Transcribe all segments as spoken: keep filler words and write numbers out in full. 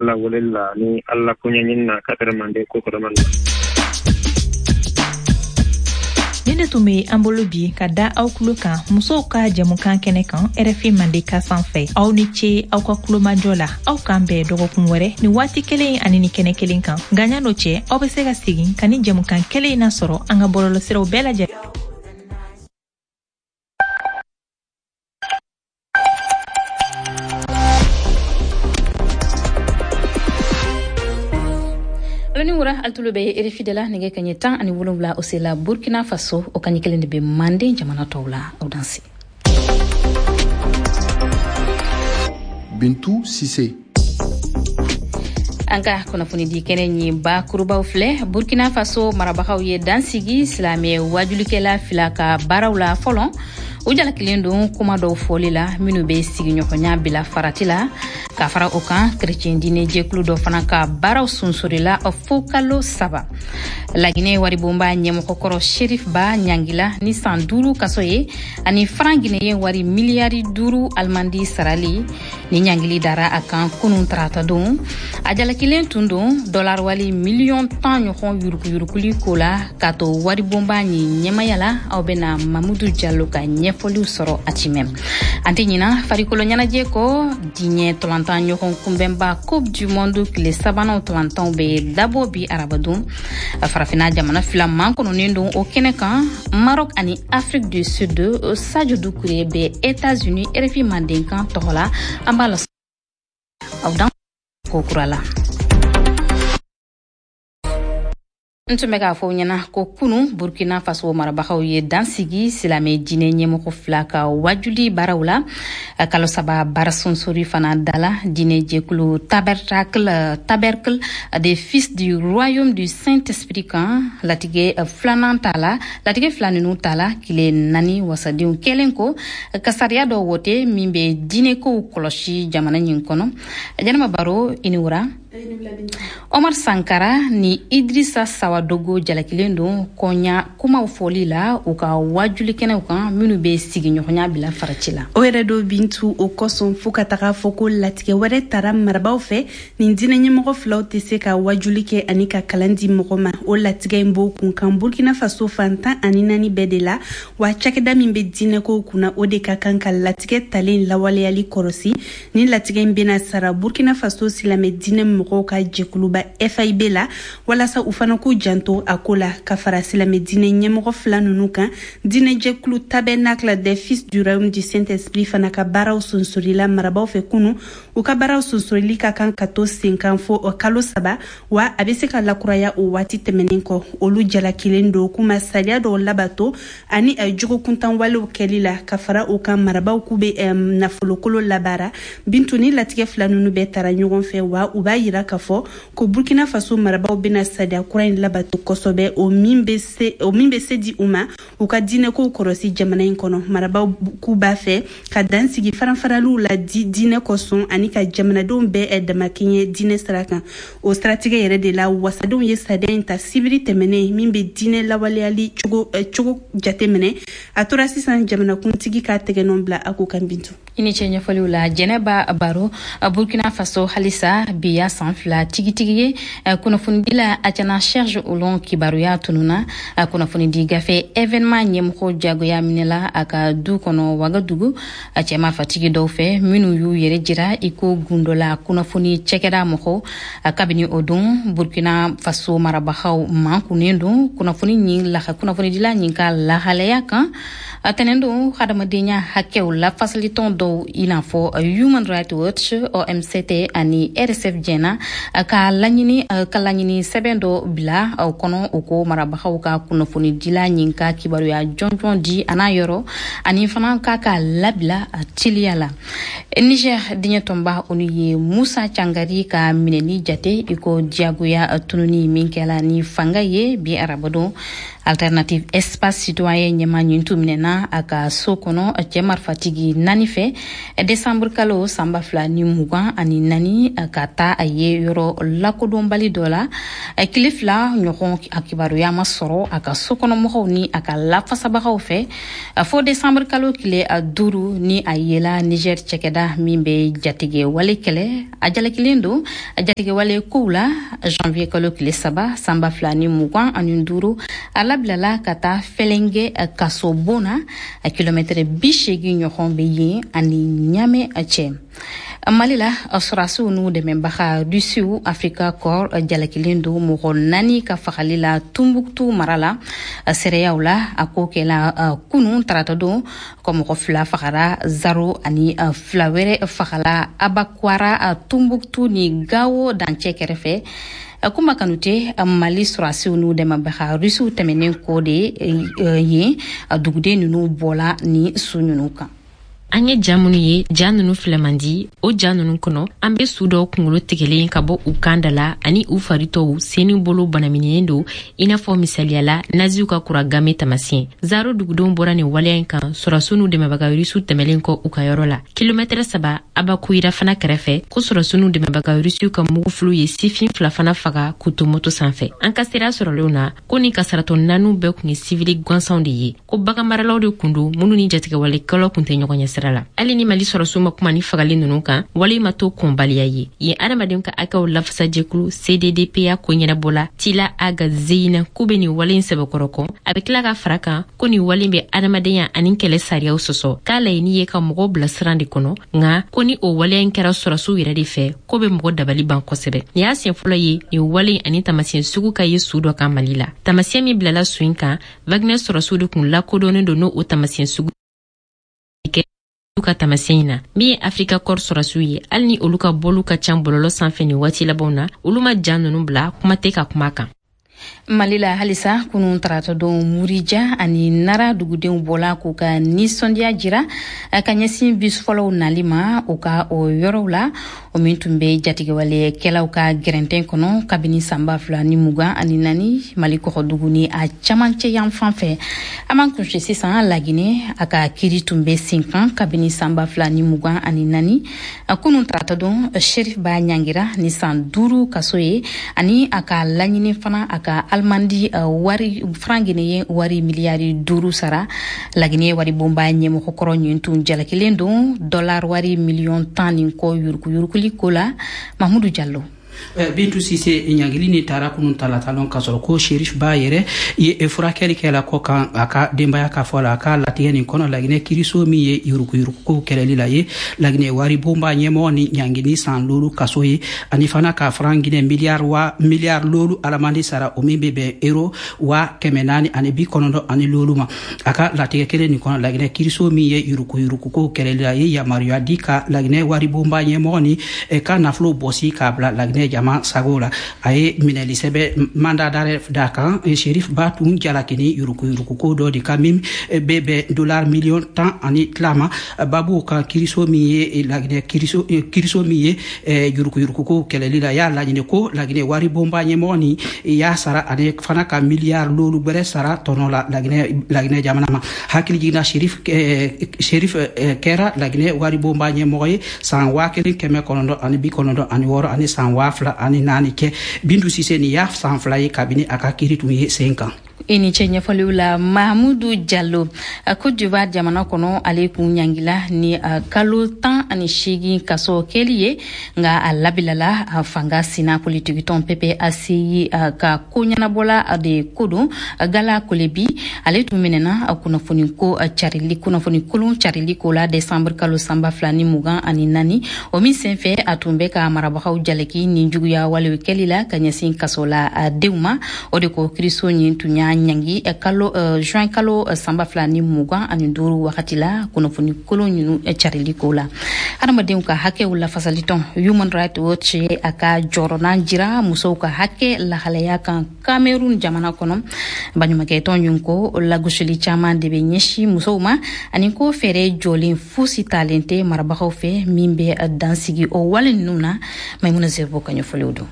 Ala weleli la ni Ala koɲɛɲini na ka tɛrɛ mande ko kɔrɔ mande. Ni de tun bɛ an bolo bi ka da aw tulo kan musow ka jɛmukan kɛnɛ kan R F I Mandeka sanfɛ. Aw ni ce aw ka kulomajɔ la. Aw k'an bɛn dɔgɔkun wɛrɛ ni waati kelen ani ni kɛnɛ kelen kan. Nka ɲan'o cɛ, aw bɛ se ka segin ka ni jɛmukan kelen in nasɔrɔ an ka bɔlɔlɔsiraw bɛɛ lajɛlen. Ni wura alitulo bɛ R F I de la. Nɛgɛ kaɲɛ tan ani wolonwula o sela Burkina Faso, o kaɲɛ kelen de bɛ Manden jamana tɔw la. Aw danse. Bintu Sise. An ka kunnafonidi kɛnɛ ɲi bakurubaw filɛ. Burkina Faso marabagaw ye dansigi silamɛ wajulikɛla fila ka baaraw la fɔlɔ. U jalakilen don kuma dɔw fɔli la minnu bɛ sigiɲɔgɔnya bila farati la. Ka fara o kan, kerecɛn diinɛ jɛkulu dɔ fana ka baaraw sunsurila fo kalo saba. Laginɛ waribonba ɲɛmɔgɔkɔrɔ Sherif Ba ɲangila ni san duuru kaso ye ani faran guinéen wari miliyari duuru alimandi sarali. Ni ɲangili dara a kan kunun tarata don. A jalakilen tun don dɔlar wali miliyɔn tan ɲɔgɔn yuruguyuruguli ko la k'a to waribonba ɲi ɲɛmaya la. Aw bɛna Mamudu Jalo ka ɲɛfɔliw sɔrɔ a cimɛ. An tɛ ɲina farikolo ɲɛnajɛ kɔ. Diɲɛ tolantan ɲɔgɔn kunbɛnba Coupe du Monde tile sabanan tolantanw bɛ dabɔ bi arabadon. Farafinna jamana fila mankɔnɔnen don o kɛnɛ kan, Maroc ani Afrique du Sud. Sadio Dukure bɛ États-Unis R F I Mandenkan tɔgɔ la. An b'a la aw dan ko kura la. N tun bɛ k'a fɔ ɲɛna ko kunu Burkina Faso marabagaw ye dansigi silamɛ diinɛ ɲɛmɔgɔ fila ka wajuli baaraw la. Kalo saba baara sonsori fana dala diinɛ jɛkulu Tabernacle Tabernacle des Fils du Royaume du Saint-Esprit kan. Latigɛ filanan ta la, latigɛ fila ninnu ta la tile naani wasadenw kɛlen ko ka sariya dɔ wote min bɛ diinɛkow kɔlɔsi jamana ɲin kɔnɔ. Jɛnɛba Baro, i ni wura. Omar Sankara ni Idrissa Sawadogo jalakilen don kɔɲa kumaw fɔli la u ka wajulikɛnɛw kan minnu bɛ sigiɲɔgɔnya bila farati la. O yɛrɛ do Bintu, o kosɔn fo ka taga fɔ ko latigɛ wɛrɛ tara marabaw fɛ, nin diinɛ ɲɛmɔgɔ filaw tɛ se ka wajuli kɛ ani ka kalan di mɔgɔ ma. O latigɛ in b'o kun kan Burkina Faso fan tan ani naani bɛɛ de la. Wa cakɛda min bɛ diinɛkow kunna, o de ka kan ka latigɛ talen lawaleyali kɔrɔsi. Ni latigɛ in bɛna sara Burkina Faso silamɛ diinɛ mɔgɔw ka jɛkuluba F I B la, walasa u fana k'u janto a ko la. Ka fara silamɛ diinɛ ɲɛmɔgɔ fila ninnu kan, diinɛjɛkulu Tabernacle des Fils du Royaume du Saint-Esprit fana ka baaraw sonsorila marabaw fɛ kunu. U ka baaraw sonsorili ka kan ka to sen kan fo kalo saba, wa a bɛ se ka lakuraya o waati tɛmɛnen kɔ. Olu jalakilen don k'u ma sariya dɔw labato ani jogokuntan walew kɛli la. Ka fara o kan, marabaw k'u bɛ nafolokolo labaara. Bintu, ni latigɛ fila ninnu bɛɛ tara ɲɔgɔn fɛ, wa u b'a yira k'a fɔ ko Burkina Faso marabaw bɛna sariya kura in labato kosɛbɛ, o min bɛ se o min bɛ se di u ma u ka diinɛkow kɔlɔsi jamana in kɔnɔ. Marabaw k'u b'a fɛ ka dan sigi faranfaraliw la di diinɛ kosɔn ani ka jamanadenw bɛɛ damakɛɲɛ diinɛ sira kan. O siratigɛ yɛrɛ de la, wasadenw ye sariya in ta sibiri tɛmɛnen min bɛ diinɛ lawaleyali cogo cogo jateminɛ. A tora sisan jamanakuntigi ka tɛgɛnɔ bila a ko kan, Bintu. I ni ce ɲɛfɔliw la, Jɛnɛba Baro. Burkina Faso halisa, bi ya san fila tigitigi ye kunnafonidila Acana Serge Olon kibaruya tununa. Kunnafonidi gafe Événement ɲɛmɔgɔ jagoya minɛla a ka du kɔnɔ Wagadugu a cɛma fatigi dɔw fɛ minnu y'u yɛrɛ jira i ko gundola kunnafoni cɛkɛda mɔgɔw. Kabini o don, Burkina Faso marabagaw mankunnen don kunnafoni ɲin laha kunnafonidila ɲin ka lahalaya kan. Tɛnɛn don, hadamadenya hakɛw lafasalitɔn dɔw i n'a fɔ Human Rights Watch, O M C T ani R S F jɛna ka laɲini ka laɲini sɛbɛn dɔ bila o kɔnɔ. O ko marabagaw ka kunnafonidila ɲin ka kibaruya jɔnjɔn di a n'a yɔrɔ ani fana k'a ka labila teliya la. Niger diɲɛ tɔnba, olu ye Musa Cangari ka minɛni jate i ko diyagoya tununi min kɛla ni fanga ye bi arabadon. Alternative Espace Citoyen ɲɛmaa ɲin tun minɛna a ka so kɔnɔ cɛ marifatigi naani fɛ desanburu kalo san ba fila ni mugan ani naani, ka taa a ye yɔrɔ lakodɔnbali dɔ la. Tile fila ɲɔgɔn, a kibaruya ma sɔrɔ a ka sokɔnɔmɔgɔw ni a ka lafasabagaw fɛ, fo desanburu kalo tile duuru ni a yela Niger cɛkɛda min bɛ jatigɛ wale kɛlɛ. A jalakilen don jatigɛ wale kow la. Janvier kalo tile saba san ba fila ni mugan ani duuru, a labilala ka taa Fɛlɛngɛ kaso bon na, kilomɛtɛrɛ bi seegin ɲɔgɔn bɛ yen ani Ɲamɛ cɛ. Mali la, sɔrɔdasiw n'u dɛmɛbaga Rusiw Africa Corps jalakilen don mɔgɔ naani ka fagali la Tumbuktu mara la. Seereyaw la, a ko kɛla kunun tarata don ko mɔgɔ fila fagara Zaro ani fila wɛrɛ fagala Abakwara, Tumbuktu ni Gawo dancɛ kɛrɛfɛ. Kuma Kanute, Mali sɔrɔdasiw n'u dɛmɛbaga Rusiw tɛmɛnen kɔ de yen, duguden ninnu bɔla ni su ninnu kan. An ye ja minnu ye, ja nunu filɛ man di. O ja nunu kɔnɔ, an be su dɔw kungolo tigɛlen ka bɔ u kan da la ani u faritɔw sen ni bolo banamininen don, i n'a fɔ misaliyala naziw ka kura game tamasiyɛn. Zaro dugudenw bɔra nin waleya in kan sɔrɔdasiw n'u dɛmɛbaga Rusiw tɛmɛlen kɔ u ka yɔrɔ la, kilomɛtɛrɛ saba Abakuyira fana kɛrɛfɛ, ko sɔrɔdasiw n'u dɛmɛbaga Rusiw ka mugufiliw ye sifin fila fana faga k'u to moto sanfɛ. An ka sera sɔrɔlenw na ko ni kasaratɔ naaniw bɛɛ kun ye sivili gansanw de ye, ko baganmaralaw de kun don minnu ni jatigɛwalekɛlaw kun tɛ ɲɔgɔn ɲɛ sira la. Hali ni Mali sɔrɔdasiw ma kuma ni fagali ninnu kan, wale ma to kɔnbaliya ye yen. Adamadenw ka hakɛw lafasajɛkulu C D D P A ko ɲɛnabɔla Tila Aga Zeyina k'u bɛ nin wale in sɛbɛkɔrɔ kɔn. A bɛ tila ka fara kan ko nin wale bɛ adamadenya ani kɛlɛ sariyaw sɔsɔ, k'a laɲini ye ka mɔgɔw bila siran de kɔnɔ, nka ko ni o waleya in kɛra sɔrɔdasiw yɛrɛ de fɛ, ko bɛ mɔgɔ dabali ban kosɛbɛ. Nin y'a siɲɛ fɔlɔ ye nin wale ani tamasiyɛn sugu ka ye su dɔ kan Mali la. Tamasiyɛn min bilala su in kan, Wagner sɔrɔdasiw de kun lakodɔnnen don n'o tamasiyɛn sugu ka tamasiyɛn in na. Min ye Africa Corps sɔrɔdasiw ye, hali ni olu ka bɔliw ka ca bɔlɔlɔ sanfɛ nin waati labanw na, olu ma ja ninnu bila, kuma tɛ ka kuma kan. Mali la halisa, kunun tarata don, Murija ani Nara dugudenw bɔla k'u ka nisɔndiya jira ka ɲɛsin bus fɔlɔw nali ma u ka o yɔrɔw la, o min tun bɛ jatigɛwalekɛlaw ka gɛrɛntɛn kɔnɔ kabini san ba fila ni mugan ani naani, Mali kɔgɔdugu ni a camancɛ yan fan fɛ. An b'an kunse sisan Laginɛ. A ka kiri tun bɛ sen kan kabini san ba fila ni mugan ani naani. Kunun tarata don, Sherif Ba ɲangira ni san duuru kaso ye, ani a ka laɲini fana a ka alimandi wari franc guinéen wari miliyari duuru sara. Laginɛ wari bonba ɲɛmɔgɔkɔrɔ ɲin tun jalakilen don dollar wari miliyɔn tan ni kɔ yuruguyuruguli ko la. Mahmudu Jallo. Bintu Sise, ɲangili ni taara kunun talatalon ka sɔrɔ ko Sherif Ba yɛrɛ ye furakɛli kɛla kɔ kan a ka denbaya ka fɔ la. A ka latigɛ nin kɔnɔ, Laginɛ kiriso min ye yuruguyurugukow kɛlɛli la ye Laginɛ wari bonba ɲɛmɔgɔ ni ɲangini san loolu kaso ye, ani fana ka franc Guinée miliyari wa miliyari loolu alamandi sara, o min bɛ bɛn euro wa kɛmɛ naani ani bi kɔnɔntɔn ani loolu ma. A ka latigɛ kelen nin kɔnɔ, Laginɛ kiriso min ye yuruguyurugukow kɛlɛli la ye yamaruya di ka Laginɛ wari bonba ɲɛmɔgɔ ni ka nafolo bɔsi k'a bila Laginɛ jama sago la. A ye minɛli sɛbɛ mandat d'arrêt da kan. Sherif Ba tun jalakini yuruguyuruguko dɔ de ka min bɛ bɛn dollar miliyɔn tan ani tila ma. Babu kan, kiriso min ye Laginɛ kiriso kiriso min ye yuruguyuruguko kɛlɛli la y'a laɲini ko Laginɛ wari bonba ɲɛmɔgɔ ni y'a sara, ani fana ka miliyari loolu gwɛrɛ sara tɔnɔ la Laginɛ Laginɛ jamana ma. Hakili jiginna, Sherif Sherif kɛra Laginɛ wari bonba ɲɛmɔgɔ ye san waa kelen kɛmɛ kɔnɔntɔn ani bi kɔnɔntɔn ani wɔɔrɔ ani san waa fila ani naani kɛ. Bintu Sise, nin y'a san fila ye kabini a ka kiri tun ye sen kan. I ni ce ɲɛfɔliw la, Mahamudu Jalo. Cote d'Ivoire jamana kɔnɔ, ale kun ɲangila ni kalo tan ani seegin kaso kɛli ye, nka a labilala. Fanga sina politikitɔn P P A C I ka ko ɲɛnabɔla de ko don, Gala Kolebi, ale tun minɛna kunnafoni ko carili, kunnafoni kolon carili ko la desanburu kalo san ba fila ni mugan ani naani. O min senfɛ, a tun bɛ ka marabagaw jalaki ni juguya walew kɛli la ka ɲɛsin kaso la denw ma. O de ko kiriso ɲin tun y'a ɲangi kalo juin kalo san ba fila ni mugan ani duuru wagati la, kunnafoni kolon ninnu carili ko la. Hadamadenw ka hakɛw lafasalitɔn Human Rights Watch ye a ka jɔrɔnan jira musow ka hakɛ lahalaya kan Cameroun jamana kɔnɔ. Baɲumankɛtɔn ɲin ko lagosili caman de bɛ ɲɛsin musow ma, ani ko fɛɛrɛ jɔlen fosi talen tɛ marabagaw fɛ min bɛ dansigi o wale ninnu na. Maimuna Zerbo ka ɲɛfɔliw don.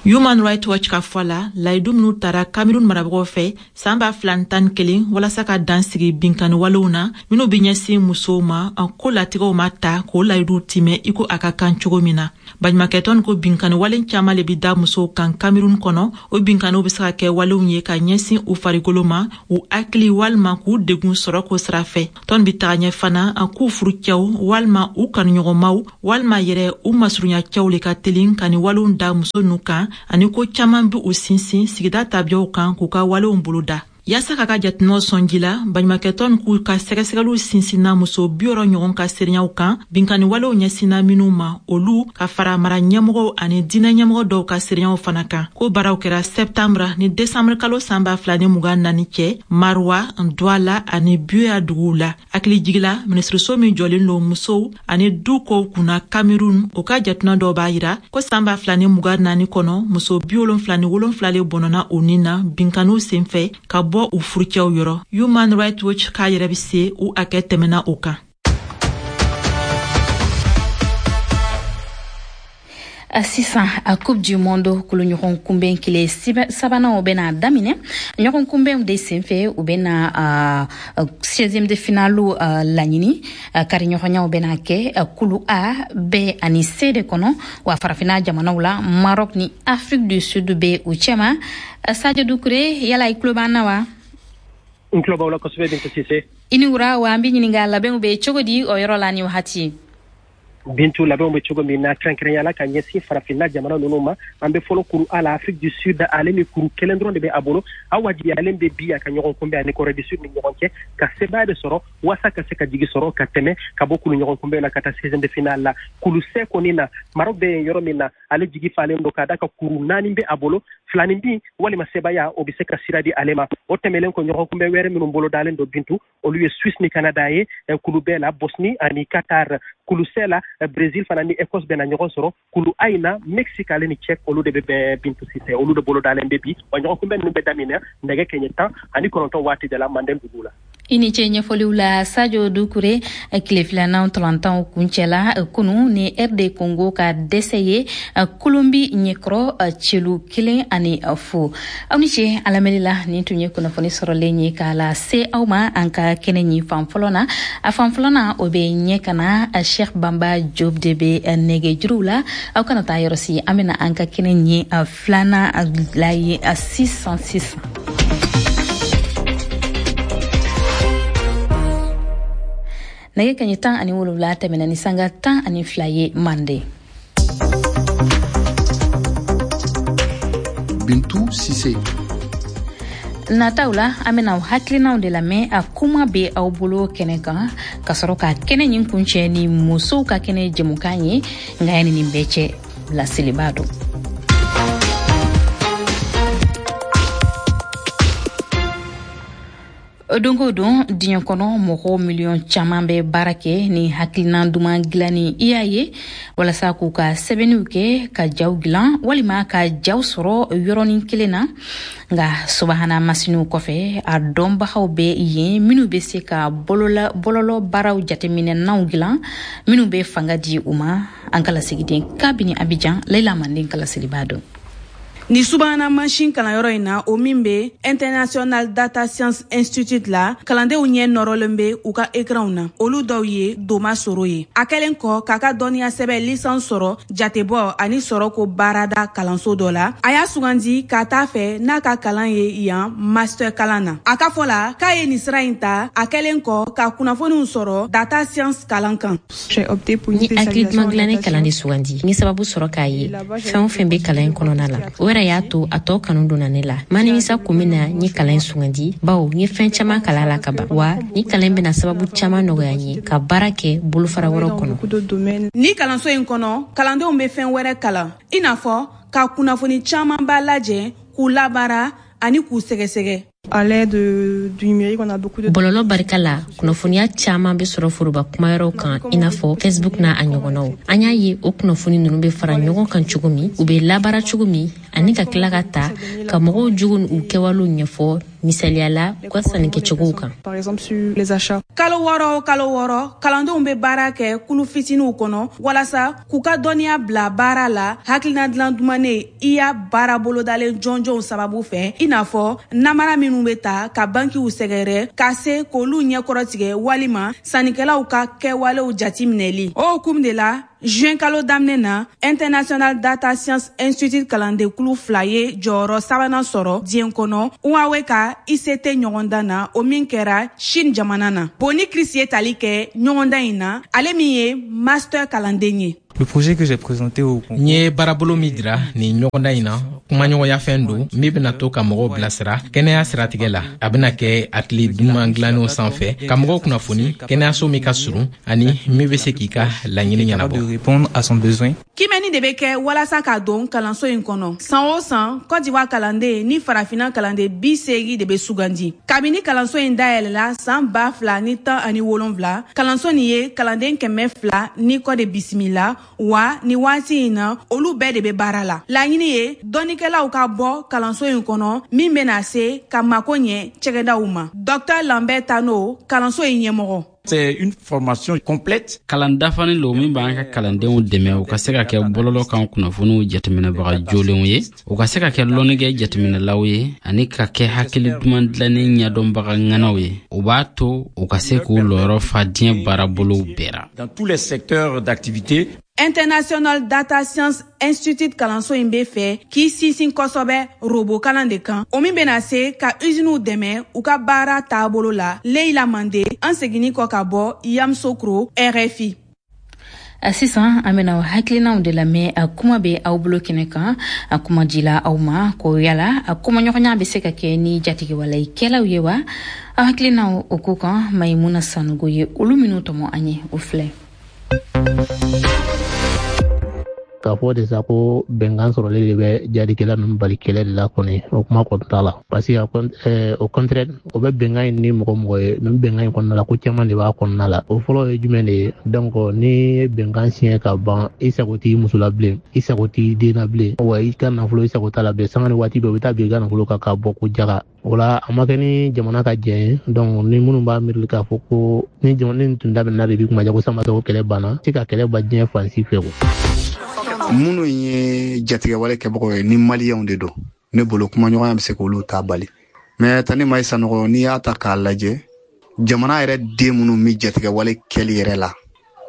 Human Rights Watch ka fɔ la, layidu minnu tara Cameroun marabagaw fɛ san ba fila ni tan ni kelen walasa ka dan sigi binkanni walew na minnu bɛ ɲɛsin musow ma, ko latigɛw ma ta k'o layiduw timɛ i ko a ka kan cogo min na. Baɲumankɛtɔn ko binkanni wale caman le bɛ da musow kan Cameroun kɔnɔ. O binkanniw bɛ se ka kɛ walew ye ka ɲɛsin u farikolo ma, u hakili walima k'u degun sɔrɔ ko sira fɛ. Tɔn bɛ taga ɲɛ fana k'u furucɛw walima u kanuɲɔgɔnmaw walima yɛrɛ u masurunya cɛw le ka telin ka nin walew da muso ninnu kan, ani ko caman bɛ u sinsin sigida tabiyaw kan k'u ka walew boloda. Yaasa k'a ka jateminɛw sɔnji la, baɲumankɛtɔn k'u ka sɛgɛsɛgɛliw sinsinna muso bi wɔɔrɔ ɲɔgɔn ka seereyaw kan binkanni walew ɲɛsinna minnu ma, olu ka fara mara ɲɛmɔgɔw ani diinɛ ɲɛmɔgɔ dɔw ka seereyaw fana kan. Ko baaraw kɛra sɛptanbra ni desanburu kalo san ba fila ni mugan naani cɛ Marwa, Douala ani Buea duguw la. Hakili jigila, minisiriso min jɔlen don musow ani du kow kunna Cameroun, o ka jateminɛ dɔw b'a yira ko san ba fila ni mugan naani kɔnɔ, muso bi wolonfila ni wolonfila le bɔnɔna u ni na binkanniw senfɛ ka bɔ u furucɛw yɔrɔ. Human Rights Watch k'a yɛrɛ bɛ se u hakɛ tɛmɛna o kan. Sisan a Coupe du Monde kulu ɲɔgɔn kunbɛn kile sabanan bɛna daminɛ. Ɲɔgɔn kunbɛnw de senfɛ, u bɛna seizième de finale laɲini. Kari ɲɔgɔnyaw bɛna kɛ kulu A, B ani C de kɔnɔ. Wa farafinna jamanaw la, Maroc ni Afrique du Sud bɛ u cɛma. Sadio Doucouré, yala i tulo b'an na wa? N tulo b'aw la kosɛbɛ, Bintu Cissé. I ni wura. Wa an bɛ ɲininka, labɛnw bɛ cogo di o yɔrɔ la ni wagati? Bintu, labɛnw bɛ cogo min na, kɛrɛnkɛrɛnya la ka ɲɛsin farafinna jamana ninnu ma, an bɛ fɔlɔ kuru A la. Afrique du Sud, ale ni kuru kelen dɔrɔn de bɛ a bolo. A wajibiyalen bɛ bi a ka ɲɔgɔn kunbɛn ani Corée du Sud ni ɲɔgɔn cɛ ka sebaaya de sɔrɔ walasa ka se ka jigi sɔrɔ ka tɛmɛ ka bɔ kulu ɲɔgɔn kunbɛn la ka taa seizième de finale la. Kulu C kɔni na, Maroc bɛ yen yɔrɔ min na, ale jigi falen don ka d'a ka kuru naani bɛ a bolo, filanin bin walima sebaaya o bɛ se ka sira di ale ma. O tɛmɛnen kɔ, ɲɔgɔn kunbɛn wɛrɛ minnu bolo dalen don, Bintu, olu ye Suisse ni Canada ye kulu B la, Bosnie ani Qatar kulu C la, Brésil fana ni Écosse bɛna ɲɔgɔn sɔrɔ. Kulu A in na, Mexique ale ni Tchèque, olu de bɛ bɛn, Bintu Cissé, olu de bolo dalen bɛ bi. Wa ɲɔgɔn kunbɛn ninnu bɛ daminɛ nɛgɛ kɛɲɛ tan ani kɔnɔntɔn waati de la Manden dugu la. I ni ce ɲɛfɔliw la, Sadio Doucouré. Tile filanan tɔlantanw kuncɛla kunu ni R D Congo ka dɛsɛ ye Colombie ɲɛkɔrɔ celu kelen ani fu. Aw ni ce a lamɛnni la. Nin tun ye kunnafoni sɔrɔlen ye k'a lase aw ma an ka kɛnɛ ɲi fan fɔlɔ na. A fan fɔlɔ na, o bɛ ɲɛ ka na, Cheikh Bamba Diop de bɛ nɛgɛjuruw la. Aw kana taa yɔrɔ si, an bɛna an ka kɛnɛ ɲi filanan la ye sisan sisan. Nɛgɛ kaɲɛ tan ani wolonwula tɛmɛna ni sanga tan ani fila ye Mande. Bintu Cissé. Nataw la, an bɛna hakilinaw de lamɛn a kuma bɛ aw bolo kɛnɛ kan, ka sɔrɔ ka kɛnɛ ɲin kuncɛ ni musow ka kɛnɛ jɛmukan ye. Nka yanni nin bɛɛ cɛ, laseliba don. Don o don diɲɛ kɔnɔ, mɔgɔ miliyɔn caman bɛ baara kɛ ni hakilina duman dilanni i y'a ye walasa k'u ka sɛbɛnniw kɛ, ka jaw dilan walima ka jaw sɔrɔ yɔrɔnin kelen na. Nka subahana masiniw kɔfɛ, a dɔnbagaw bɛ yen minnu bɛ se ka bolola bɔlɔlɔ baaraw jateminɛnaw dilan minnu bɛ fanga di u ma. An ka lasigiden kabini Abidjan, Leila Manden ka laseliba don. Ni subahana mansin kalanyɔrɔ in na, o min bɛ International Data Science Institute la, kalandenw ɲɛ nɔrɔlen bɛ u ka ekranw na. Olu dɔw ye Doma Soro ye. A kɛlen kɔ k'a ka dɔnniya sɛbɛn licence sɔrɔ jatebɔ ani sɔrɔko baarada kalanso dɔ la, a y'a sugandi k'a t'a fɛ n'a ka kalan ye yan master kalan na. A ka fɔ la k'a ye nin sira in ta a kɛlen kɔ ka kunnafoniw sɔrɔ data science kalan kan. Ni hakili duman dilanni kalan de sugandi, n ye sababu sɔrɔ k'a ye fɛn o fɛn bɛ kalan in kɔnɔna la, o yɛrɛ y'a to a tɔ kanu donna ne la. Ma nimisa kun min na n ye kalan in sugandi, bawo n ye fɛn caman kalan la ka ban, wa ni kalan in bɛna sababu caman nɔgɔya n ye ka baara kɛ bolofara wɛrɛw kɔnɔ. Ni kalanso in kɔnɔ, kalandenw bɛ fɛn wɛrɛ kalan, i n'a fɔ ka kunnafoni camanba lajɛ, k'u labaara ani k'u sɛgɛsɛgɛ. À l'aide du numérique, on a beaucoup de Bɔlɔlɔ barika la, kunnafoniya caman bɛ sɔrɔ foroba kumayɔrɔw kan, i n'a fɔ Facebook n'a a ɲɔgɔnnaw. An y'a ye o kunnafoni ninnu bɛ fara ɲɔgɔn kan cogo min, u bɛ labaara cogo min. ani ka tila ka ta ka mɔgɔw jogo n'u kɛwalew ɲɛfɔ, misaliya la u ka sannikɛcogow kan. Par exemple sur les achats. Kalo wɔɔrɔ o kalo wɔɔrɔ, kalandenw bɛ baara kɛ kulu fitininw kɔnɔ walasa k'u ka dɔnniya bila baara la hakilina dilan dumanen I A baara bolodalen jɔnjɔnw sababu fɛ, i n'a fɔ namara minnu bɛ ta ka bankiw sɛgɛrɛ ka se k'olu ɲɛkɔrɔtigɛ walima sannikɛlaw ka kɛwalew jatiminɛli. O hukumu de la, juin kalo daminɛ na, International Data Science Institute kalandenkulu fila ye jɔyɔrɔ sabanan sɔrɔ diɲɛ kɔnɔ Huawei ka I C T ɲɔgɔndan na, o min kɛra Chine jamana na. Boni Chris ye tali kɛ ɲɔgɔndan in na, ale min ye master kalanden ye. Le projet que j'ai présenté au N ye baarabolo min jira nin ɲɔgɔndan in na, kumaɲɔgɔnya fɛn don min bena to ka mɔgɔw bilasira kɛnɛya siratigɛ la. A bena kɛ hakili duman dilannenw sanfɛ ka mɔgɔw kunnafoni kɛnɛyaso min ka surun ani min be se k'i ka laɲini ɲɛnabɔ. De répondre à son besoin. Kimɛni de bɛ kɛ walasa ka don kalanso in kɔnɔ. San o san, Cote d'Ivoire kalanden ni Farafina kalanden bi seegin de bɛ sugandi. Kabini kalanso in dayɛlɛla san ba fila ni tan ani wolonfila, kalanso nin ye kalanden kɛmɛ fila ni kɔ de bisimila wa. Ni waati in na, olu bɛɛ de bɛ baara la. Laɲini ye dɔnnikɛlaw ka bɔ kalanso in kɔnɔ min bɛna se ka mako ɲɛ cɛgɛdaw ma. Docteur Lambert Tano, kalanso in ɲɛmɔgɔ. C'est une formation complète. Kalan dafanin lo min b'an ka kalandenw dɛmɛ u ka se ka kɛ bɔlɔlɔ kan kunnafoniw jateminɛbaga jolenw ye, u ka se ka kɛ lɔnnikɛ jateminɛlaw ye ani ka kɛ hakili duman dilannen ɲɛdɔnbaga ŋanaw ye. O b'a to u ka se k'u lɔyɔrɔ fa diɲɛ baarabolow bɛɛ ra. Dans tous les secteurs d'activité. International Data Science Institute kalanso in bɛ fɛ k'i sinsin kosɛbɛ robot kalan de kan, o min bɛna se ka usiniw dɛmɛ u ka baara taabolo la. Leila Mande, an seginni kɔ ka bɔ Yamoussoukro, R F I. Sisan an bena hakilinaw de lamɛn. A kuma bɛ aw bolo kɛnɛ kan, a kuma dila aw ma ko yala a kumaɲɔgɔnya bɛ se ka kɛ ni jatigɛwalekɛlaw ye wa? Aw hakilinaw o ko kan, Mayimuna Sanogo ye olu minnu tɔmɔ an ye, o filɛ. K'a fɔ de sa ko bɛnkan sɔrɔlen de bɛ jadikɛla ninnu bali kɛlɛ de la kɔni, o kuma kɔni t'a la, parce que au contraire, o bɛ bɛnkan in ni mɔgɔ mɔgɔ ye nin bɛnkan in kɔnɔna la, ko caman de b'a kɔnɔna la. O fɔlɔ ye jumɛn de ye? Donc ni ye bɛnkan siɲɛ ka ban, i sago t'i muso la bilen, i sago t'i den na bilen, wa i ka nafolo, i sago t'a la bilen. Sanga ni waati bɛɛ, u bɛ taa bin i ka nafolo kan k'a bɔ ko jaga. O la, a ma kɛ ni jamana ka jɛ ye. Donc ni minnu b'a miiri k'a fɔ ko ni jamana ni tun daminɛna de bi kuma ja ko san ko kɛlɛ banna, se ka kɛlɛ ban diɲɛ fan si fɛ ko. Minnu ye jatigɛwale kɛbagaw ye, ni Maliyɛnw de don, ne bolo kumaɲɔgɔnya bɛ se k'olu ta bali. Mɛ tani ma Sanɔgɔ, n'i y'a ta k'a lajɛ, jamana yɛrɛ den minnu bɛ jatigɛwale kɛli yɛrɛ la,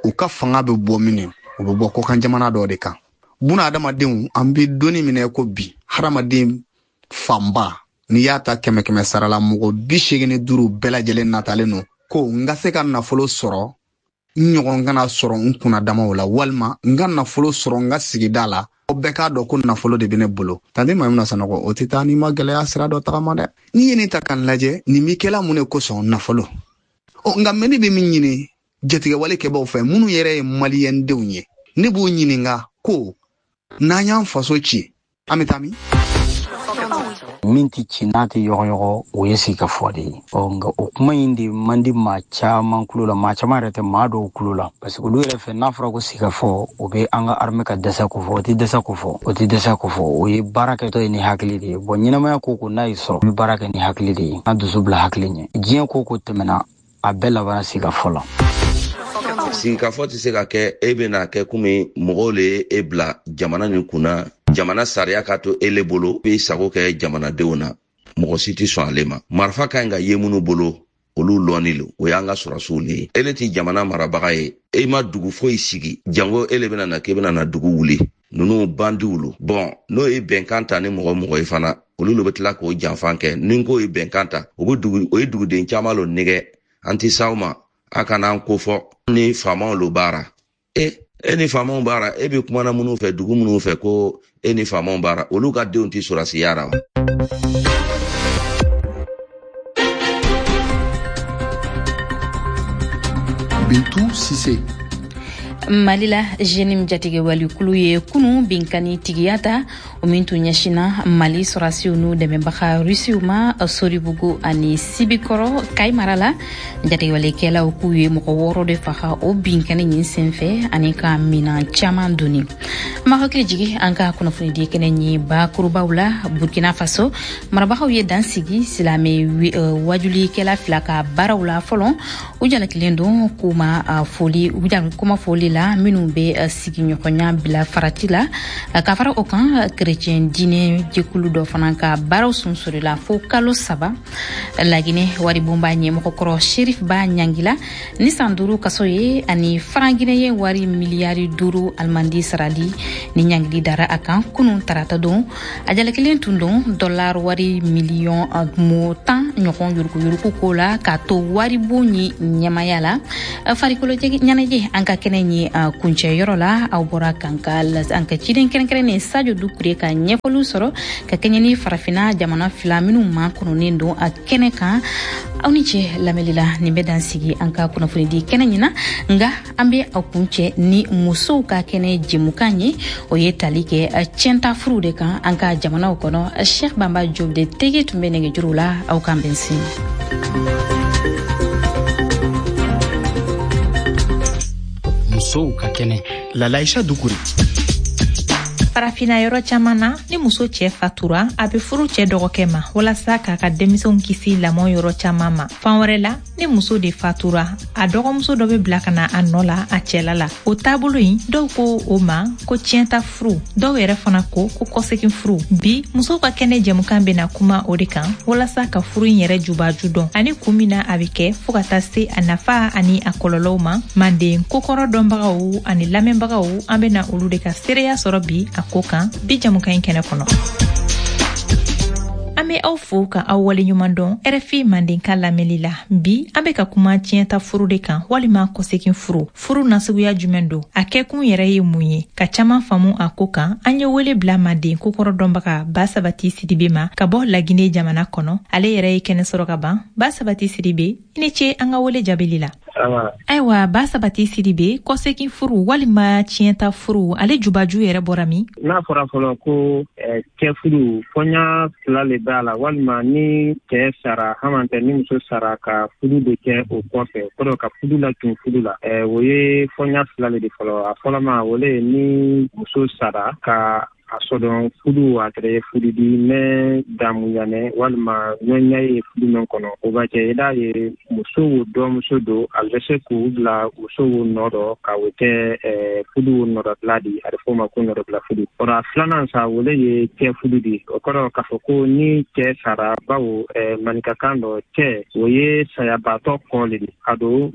u ka fanga bɛ bɔ min, u bɛ bɔ kɔkan jamana dɔ de kan. Buna adamadenw, an bɛ donni minɛ ko bi, hadamaden fanba, n'i y'a ta kɛmɛ kɛmɛ sara la, mɔgɔ bi seegin ni duuru bɛɛ lajɛlen natalen don ko n ka se ka nafolo sɔrɔ, n ɲɔgɔn kana sɔrɔ n kunna damaw la, walima n ka nafolo sɔrɔ n ka sigida la, o bɛɛ k'a dɔn ko nafolo de bɛ ne bolo. Tante Mayimuna Sanɔgɔ, o tɛ taa n'i ma gɛlɛya sira dɔ tagama dɛ. N'i ye nin ta k'a lajɛ, nin b'i kɛla mun de kosɔn? Nafolo. Ɔ nka mɛ ne bɛ min ɲini jatigɛwale kɛbaw fɛ, minnu yɛrɛ ye Maliyɛndenw ye, ne b'u ɲininka ko n'an y'an faso ci, an bɛ taa min? Min tɛ ci n'a tɛ yɔgɔyɔgɔ, o ye sigikafɔ de ye. Ɔ nka o kuma in de man di maa caman kulo la, maa caman yɛrɛ tɛ, maa dɔw kulo la, parce que olu yɛrɛ fɛ, n'a fɔra ko sigikafɔ, o bɛ an ka armée ka dɛsɛ ko fɔ. O tɛ dɛsɛ ko fɔ, o tɛ dɛsɛ ko fɔ. O ye baara kɛtɔ ye ni hakili de ye. Bɔn, ɲɛnamaya ko ko n'a y'i sɔrɔ, i bɛ baara kɛ ni hakili de ye, an dusu bila hakili ɲɛ. Diɲɛ ko ko tɛmɛna, a bɛɛ labanna sigikafɔ la. Sigikafɔ tɛ se ka kɛ e bɛna kɛ komi mɔgɔw le ye e bila jamana nin kunna, jamana sariya ka to e le bolo, i sago kɛ jamanadenw na. Mɔgɔ si tɛ sɔn ale ma. Marifa ka ɲi ka ye minnu bolo, olu lɔnni lo, o y'an ka sɔrɔsiw le ye. E le tɛ jamana marabaga ye, e ma dugu foyi sigi, jango e le bɛna na k'e bɛna na dugu wuli. Ninnu bandiw lo. Bɔn, n'o ye bɛnkan ta ni mɔgɔ mɔgɔ ye fana, olu le bɛ tila k'o janfan kɛ. Ni ko ye bɛnkan ta, o bɛ dugu, o ye duguden caman lo nɛgɛ. An tɛ s'aw ma, a kana an ko fɔ ni faamaw lo baara. E e ni faamaw baara, e bɛ kumana minnu fɛ, dugu minnu fɛ ko e ni faamaw baara, olu ka denw tɛ sɔrɔsiya ra wa? Bintu Sise. Mali la, JNIM jatigɛwalikulu ye kunu binkani tigiya ta, o min tun ɲɛsinna Mali sɔrɔdasiw n'u dɛmɛbaga Rusiw ma Soribugu ani Sibikɔrɔ, Kayi mara la. Jatigɛwalekɛlaw k'u ye mɔgɔ wɔɔrɔ de faga o binkani nin senfɛ ani ka minan caman doni. Ma hakili jigi an ka kunnafonidi kɛnɛ ye bakurubaw la. Burkina Faso marabagaw ye dan sigi silamɛ wajulikɛla fila ka baaraw la fɔlɔ. U jalakilen don kuma foli u kuma foli la minnu bɛ sigiɲɔgɔnya bila farati la. Ka fara o kan, kerecɛn diinɛ jɛkulu dɔ fana ka baaraw sunsurila fo kalo saba. Laginɛ waribonba ɲɛmɔgɔkɔrɔ Sherif Ba ɲangila ni san duuru kaso ye ani faranginɛ ye wari miliyari duuru alimandi sarali ni ɲangili dara a kan kunun tarata don. A jalakilen tun don dɔlar wari miliyɔn mo tan ɲɔgɔn yuruguyurugu ko la k'a to waribon ye ɲɛmaya la. Farikolo ɲɛnajɛ an ka kɛnɛ ye kuncɛ yɔrɔ la, aw bɔra k'an ka an ka ciden kɛrɛnkɛrɛnnen Sadio Dukure ka ɲɛfɔliw sɔrɔ ka kɛɲɛ ni farafinna jamana fila minnu makɔnɔnen don a kɛnɛ kan. Aw ni ce lamɛnli la, nin bɛ dan sigi an ka kunnafonidi kɛnɛ ɲina, nka an bɛ aw kuncɛ ni musow ka kɛnɛ jɛmukan ye, o ye tali kɛ tiɲɛta furuw de kan an ka jamanaw kɔnɔ. Cheikh Bamba Diop de tege tun bɛ nɛgɛjuru la, aw k'an bɛn sini. Musow ka kɛnɛ Lalaïcha Dukure. Farafinna yɔrɔ caman na, ni muso cɛ fatura, a bɛ furu cɛ dɔgɔkɛ ma walasa k'a ka denmisɛnw kisi lamɔ yɔrɔ caman ma. Fan wɛrɛ la, ni muso de fatura, a dɔgɔmuso dɔ bɛ bila ka na a nɔ la a cɛla la. O taabolo in, dɔw ko o ma ko tiɲɛta furu, dɔw yɛrɛ fana ko ko kɔsegin furu. Bi musow ka kɛnɛ jɛmukan bɛna kuma o de kan walasa ka furu in yɛrɛ jubaju dɔn ani kun min na a bɛ kɛ, fo ka taa se a nafa ani a kɔlɔlɔw ma. Manden kokɔrɔ dɔnbagaw ani lamɛnbagaw, an bɛna olu de ka seereya sɔrɔ bi a ko kan bi jɛmukan in kɛnɛ kɔnɔ. An bɛ aw fo ka aw waleɲuman dɔn R F I Mandenka lamɛnli la. Bi an bɛ ka kuma tiɲɛta furu de kan walima kɔsegin furu. Furu nasuguya jumɛn don? A kɛkun yɛrɛ ye mun ye? Ka caman faamu a ko kan, an ye wele bila Manden kokɔrɔ dɔnbaga Ba Sabati Sidibe ma ka bɔ Laginɛ jamana kɔnɔ. Ale yɛrɛ ye kɛnɛ sɔrɔ ka ban. Ba Sabati Sidibe, i ni ce an ka wele jaabili la. Ayiwa Ba Sabati Sidibe, kɔsegin furu walima tiɲɛta furu, ale jubaju yɛrɛ bɔra min? N'a fɔra fɔlɔ ko cɛ furu fɔɲa fila le b'a la, walima ni cɛ sara hamantɛ ni muso sara ka furu de kɛ o kɔfɛ, kɔrɔ ka furu la tun furu la, o ye fɔɲa fila le de fɔlɔ. A fɔlɔma o le ye ni muso sara ka a sɔdɔn furu a kɛra furu di mɛ damuyanɛ walima ɲɔɲa ye furu min kɔnɔ, o b'a kɛ i d'a ye muso wo dɔmuso don, a bɛ se k'u bila muso wo nɔ dɔ ka o kɛ furu wo nɔdɔbila di, a bɛ fɔ o ma ko nɔdɔbila furu. Kɔrɔ a filanan sa, o le ye cɛ furu di. O kɔrɔ k'a fɔ ko ni cɛ sara, bawo maninkakan dɔ cɛ o ye sayabaatɔ kɔ le di, a don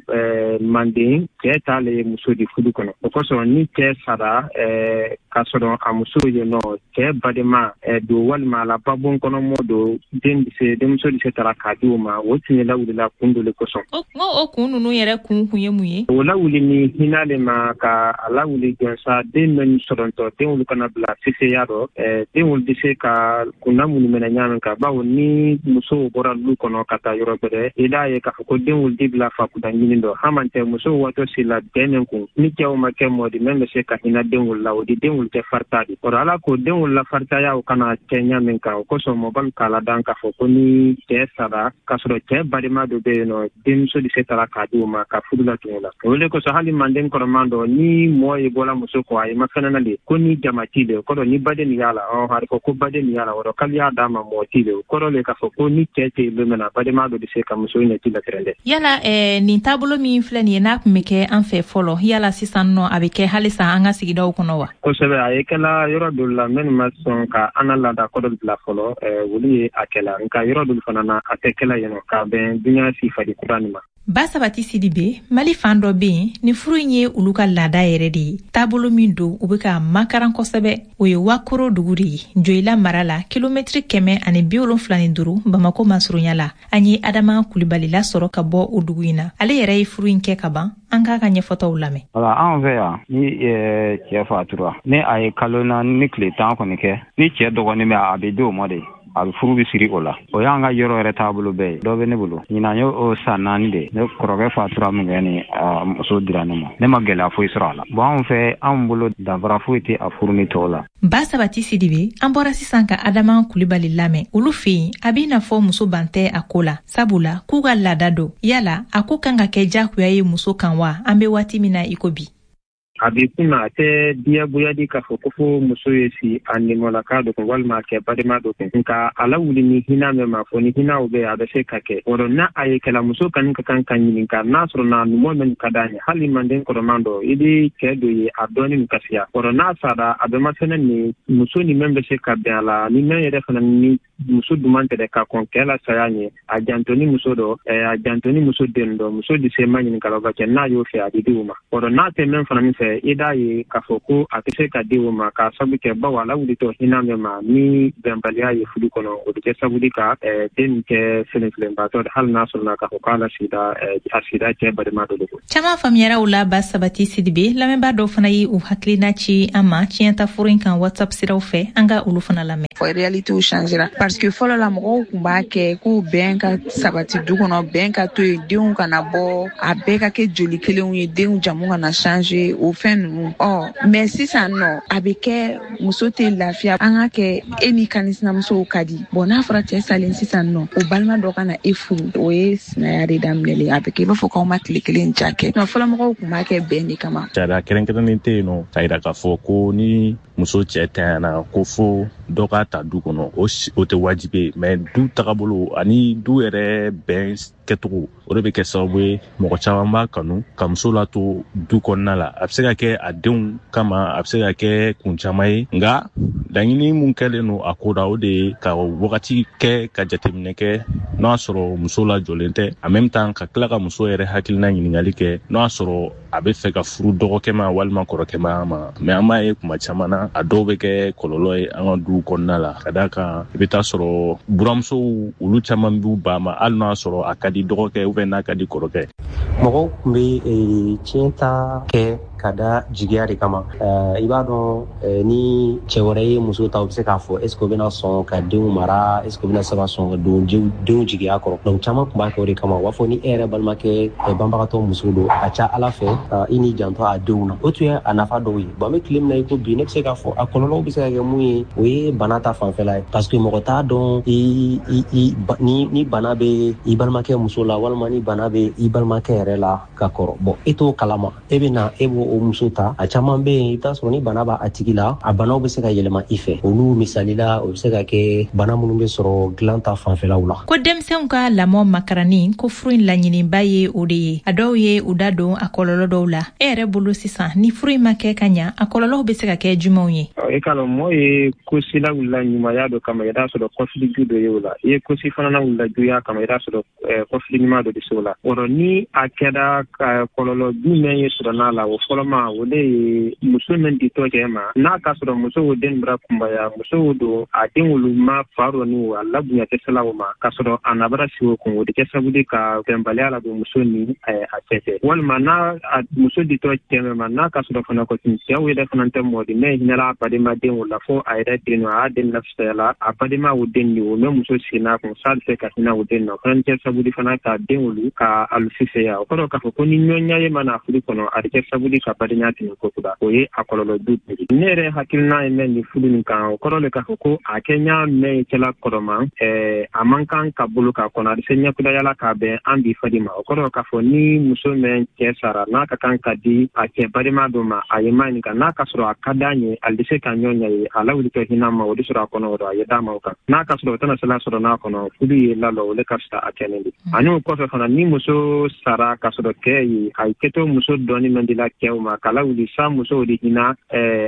manden cɛ t'ale ye muso di furu kɔnɔ. O kosɔn ni cɛ sara k'a sɔrɔ a muso ye nɔ cɛ badenma don walima a la babon kɔnɔ mɔ don, den bɛ se denmuso bɛ se tara k'a di o ma, o tun ye lawulila kun dɔ le kosɔn. O o kun ninnu yɛrɛ kun kun ye mun ye? O lawuli ni hinɛ le ma ka a lawuli jɔnsa den min sɔrɔntɔ, den olu kana bila seseya dɔ, den olu bɛ se ka kunna minnu minɛ ɲa min kan, bawo ni musow bɔra lu kɔnɔ ka taa yɔrɔ gbɛrɛ, i d'a ye k'a fɔ ko den olu di bila fakunda ɲini dɔ, hamantɛ musow waatɔ si la den min kun ni cɛw ma kɛ mɔ di min bɛ se ka hinɛ den olu la, o di den olu tɛ farita di. O ala ko den olu la faritaya o kana kɛ ɲa min kan, o kosɔn mɔbali k'a ladan k'a fɔ ko ni cɛ sara k'a sɔrɔ cɛ balima dɔ bɛ yen nɔ, denmuso de se tara k'a di o ma ka furu la tun o la. O le kosɔn hali manden kɔrɔman dɔ ni mɔɔ ye bɔla muso kɔ, a ye mafɛnɛ le ko ni jama ti le, o kɔrɔ ni baden y'a la, ɔ a fɔ ko baden y'a la, o k'ale y'a d'a ma mɔɔ ti le, o kɔrɔ le k'a fɔ ko ni cɛ tɛ yen don min na, balima dɔ bɛ se ka muso ɲɛ ti la dɛ. Yala eh, nin taabolo min filɛ nin ye n'a tun bɛ kɛ an fɛ fɔlɔ, yala sisan nɔ a bɛ kɛ halisa an ka sigidaw kɔnɔ wa? Kosɛbɛ, a ye kɛla yɔrɔ dɔ la minnu ma sɔn ka an ka laada kɔrɔ bila fɔlɔ, olu ye a kɛla, nka yɔrɔ dɔ fana na a tɛ kɛla yen nɔ k'a bɛn dunya sifari kura nin ma. Ba Sabati Sidibe, Mali fan dɔ bɛ yen ni furu in ye olu ka laada yɛrɛ de ye. Taabolo min don, u bɛ ka makaran kosɛbɛ, o ye Wakoro dugu de ye, Joyila mara la, kilomɛtiri kɛmɛ ani bi wolonfila ni duuru Bamako masurunya la. An ye Adama Kulibali lasɔrɔ ka bɔ o dugu in na. Ale yɛrɛ ye furu in kɛ ka ban, an k'a ka ɲɛfɔtaw lamɛn. Wala anw fɛ yan, ni cɛ fatura, ni a ye kalo naani ni tile tan kɔni kɛ, ni cɛ dɔgɔnin bɛ a bɛ di o ma de. A bɛ furu bɛ siri o la. O y'an ka yɔrɔ yɛrɛ taabolo bɛɛ ye. Dɔ bɛ ne bolo, ɲinan ye o san naani de. Ne kɔrɔkɛ fatura min kɛ ni a muso dira ne ma, ne ma gɛlɛya foyi sɔrɔ a la. Bon, anw fɛ, anw bolo danfara foyi tɛ a furu ni tɔw la. Ba Sabati Sidibe, an bɔra sisan ka Adama Kulibali lamɛn. Olu fɛ yen, a b'i n'a fɔ muso ban tɛ a ko la, sabula k'u ka laada don. Yala a ko kan ka kɛ jagoya ye muso kan wa, an bɛ waati min na i ko bi? A b'i kunna, a tɛ diyagoya di k'a fɔ ko fo muso ye si a nimɔlaka dɔ kun walima a kɛ balima dɔ kun, nka a lawuli ni hinɛ min ma fɔ, ni hinɛw bɛ yen, a bɛ se ka kɛ o rɔ. N'a a ye kɛla, muso kani ka kan ka ɲininka n'a sɔrɔ na numu min ka d'a ye. Hali manden kɔrɔman dɔ, i bɛ cɛ dɔ ye, a dɔɔni ka siya o rɔ. N'a sara, a bɛ masɛnɛ ni muso ni min bɛ se ka bɛn a la, ni min yɛrɛ fana ni muso duman tɛ ka kɔn kɛ la saya ɲɛ, a janto ni muso dɔ, a janto ni muso den dɔ, muso di se ma ɲininka la ka kɛ n'a y'o fɛ, a bɛ di o ma o rɔ. N'a tɛ min fana min fɛ, i d'a ye k'a fɔ ko a tɛ se ka di o ma, k'a sabu kɛ bawo a lawulitɔ hinɛ min ma ni bɛnbaliya ye furu kɔnɔ, o bɛ kɛ sababu ka den kɛ filenfilenbaatɔ, hali n'a sɔrɔla k'a fɔ k'a la sigida a sigida cɛ balima dɔ de ko. Caman faamuyara o la. Ba Sabati Sidibe, lamɛnbaa dɔw fana ye u hakilina ci an ma tiɲɛta furu in kan WhatsApp siraw fɛ. An ka olu fana lamɛn. Réalité changera parce que fɔlɔ la, mɔgɔw tun b'a kɛ ko bɛn ka sabati du kɔnɔ, bɛn ka to yen, denw kana bɔ, a bɛɛ ka kɛ joli kelenw ye, denw jamu kana changer, o fɛn ninnu. Ɔ mais sisan nɔ, a bɛ kɛ muso tɛ lafiya. An ka kɛ e ni kanisinamusow ka di. Bon, n'a fɔra cɛ salen sisan nɔ, o balima dɔ ka na e furu, o ye sinaya de daminɛlen. A bɛ kɛ i b'a fɔ k'aw ma tile kelen ja kɛ. Fɔlɔ mɔgɔw tun b'a kɛ bɛn de kama. Sariya kɛrɛnkɛrɛnnen tɛ yen nɔ k'a yira k'a fɔ ko ni muso cɛ tanyana ko fo dɔ k'a ta du kɔnɔ, o o tɛ wajibi ye. Mais du tagabolo ani du yɛrɛ bɛn kɛcogo, o de bɛ kɛ sababu ye mɔgɔ caman b'a kanu ka muso lato du kɔnɔna la. A bɛ se ka kɛ a denw kama, a bɛ se ka kɛ kun caman ye, nka laɲini mun kɛlen don a ko la, o de ye ka wagati kɛ ka jateminɛ kɛ n'o y'a sɔrɔ muso lajɔlen tɛ, en même temps ka tila ka muso yɛrɛ hakilina ɲininkali kɛ n'o y'a sɔrɔ a bɛ fɛ ka furu dɔgɔkɛ ma walima kɔrɔkɛ ma ma. Mais an b'a ye kuma caman na, a dɔw bɛ kɛ kɔlɔlɔ ye an ka duw kɔnɔna la, ka d'a kan i bɛ taa sɔrɔ buramusow olu caman b'u ba ma, hali n'o y'a sɔrɔ a ka di dɔgɔkɛ ou bien n'a ka di kɔrɔkɛ. Mɔgɔw tun bɛ tiɲɛ ta kɛ ka da jigiya de kama. I b'a dɔn, ni cɛ wɛrɛ ye muso ta, u bɛ se k'a fɔ est ce que u bɛna sɔn ka denw mara, est ce que u bɛna se ka sɔn ka don denw jigiya kɔrɔ. Donc caman tun b'a kɛ o de kama. U b'a fɔ ni e yɛrɛ balimakɛ banbagatɔ muso don, a ca Ala fɛ i n'i janto a denw na. O tun ye a nafa dɔw ye. Bon, an bɛ tile min na i ko bi, ne bɛ se k'a fɔ a kɔlɔlɔw bɛ se ka kɛ mun ye, o ye bana ta fanfɛla ye, parce que mɔgɔ t'a dɔn i i ni ni bana bɛ i balimakɛ muso la walima ni bana bɛ i balimakɛ yɛrɛ la ka kɔrɔ. Bon, e t'o kalama, e bɛ na e b'o o muso ta. A caman bɛ yen, i bɛ t'a sɔrɔ ni bana b'a tigi la, a banaw bɛ se ka yɛlɛma i fɛ. Olu misali la, o bɛ se ka kɛ bana minnu bɛ sɔrɔ dilan ta fanfɛlaw la. Ko denmisɛnw ka lamɔ makarani, ko furu in laɲiniba ye o de ye. A dɔw ye u da don a kɔlɔlɔ dɔw la. E yɛrɛ bolo sisan, ni furu in ma kɛ ka ɲa, a kɔlɔlɔw bɛ se ka kɛ jumɛnw ye? E k'a lɔn, mɔɔ ye kosi lawulila ɲumanya dɔ kama, i t'a sɔrɔ kɔfili ju dɔ ye o la. I ye kosi fana lawulila juguya kama, i t'a sɔrɔ kɔfili ɲuman dɔ de se o la. O rɔ, ni a kɛra kɔlɔlɔ jumɛn ye sɔrɔ n'a la, o fɔlɔma o de ye muso min ditɔ cɛ ma, n'a ka sɔrɔ muso o den bɔra kunbaya, muso don a den wolu ma fa rɔ ni o a labonya tɛ se la o ma, k'a sɔrɔ a nabara sigi o kun, o de kɛ sababu de ka bɛnbaliya ladon muso ni a cɛ cɛ. Walima n'a muso ditɔ cɛ ma, n'a ka sɔrɔ fana kɔtun cɛw yɛrɛ fana tɛ mɔɔ di mɛ hinɛla a badenma den o la, fo a yɛrɛ den nɔ, a y'a den lafisaya la, a badenma o den de o mɛ muso sigi n'a kun s'a bɛ se ka hinɛ o den nɔ, o fana kɛ sababu de fana ka den wolu ka alu fisaya. O kɔrɔ k'a fɔ ko ni ɲɔgɔnya ye mana furu kɔnɔ, a bɛ kɛ sababu de ka badenya tɛmɛ ko kura, o ye a kɔlɔlɔ du de ye. Ne yɛrɛ hakilina ye mɛn nin furu nin kan, o kɔrɔ de k'a fɔ ko a kɛ ɲa mɛn cɛla kɔrɔma, ɛɛ a man kan ka bolo k'a kɔnɔ, a bɛ se ɲɛkudayala k'a bɛn an bi fadi ma. O kɔrɔ k'a fɔ ni muso mɛn cɛ sara, n'a ka kan ka di a cɛ balima dɔ ma, a ye ma ɲininka, n'a ka sɔrɔ a ka d'a ye, ale bɛ se ka ɲɔgɔn ɲɛ ye, a lawulitɔ hinɛ ma, o de sɔrɔ a kɔnɔ, o a ye d'a ma o kan. N'a ka sɔrɔ o tɛna se la sɔrɔ n'a kɔnɔ, furu ye lalɔ, o de ka fisa a kɛlen de. Ani o kɔfɛ fana, ni muso sara ka sɔrɔ kɛ ye, a ye kɛtɔ muso dɔɔni man di la kɛw ma, k'a lawuli sa musow de hinɛ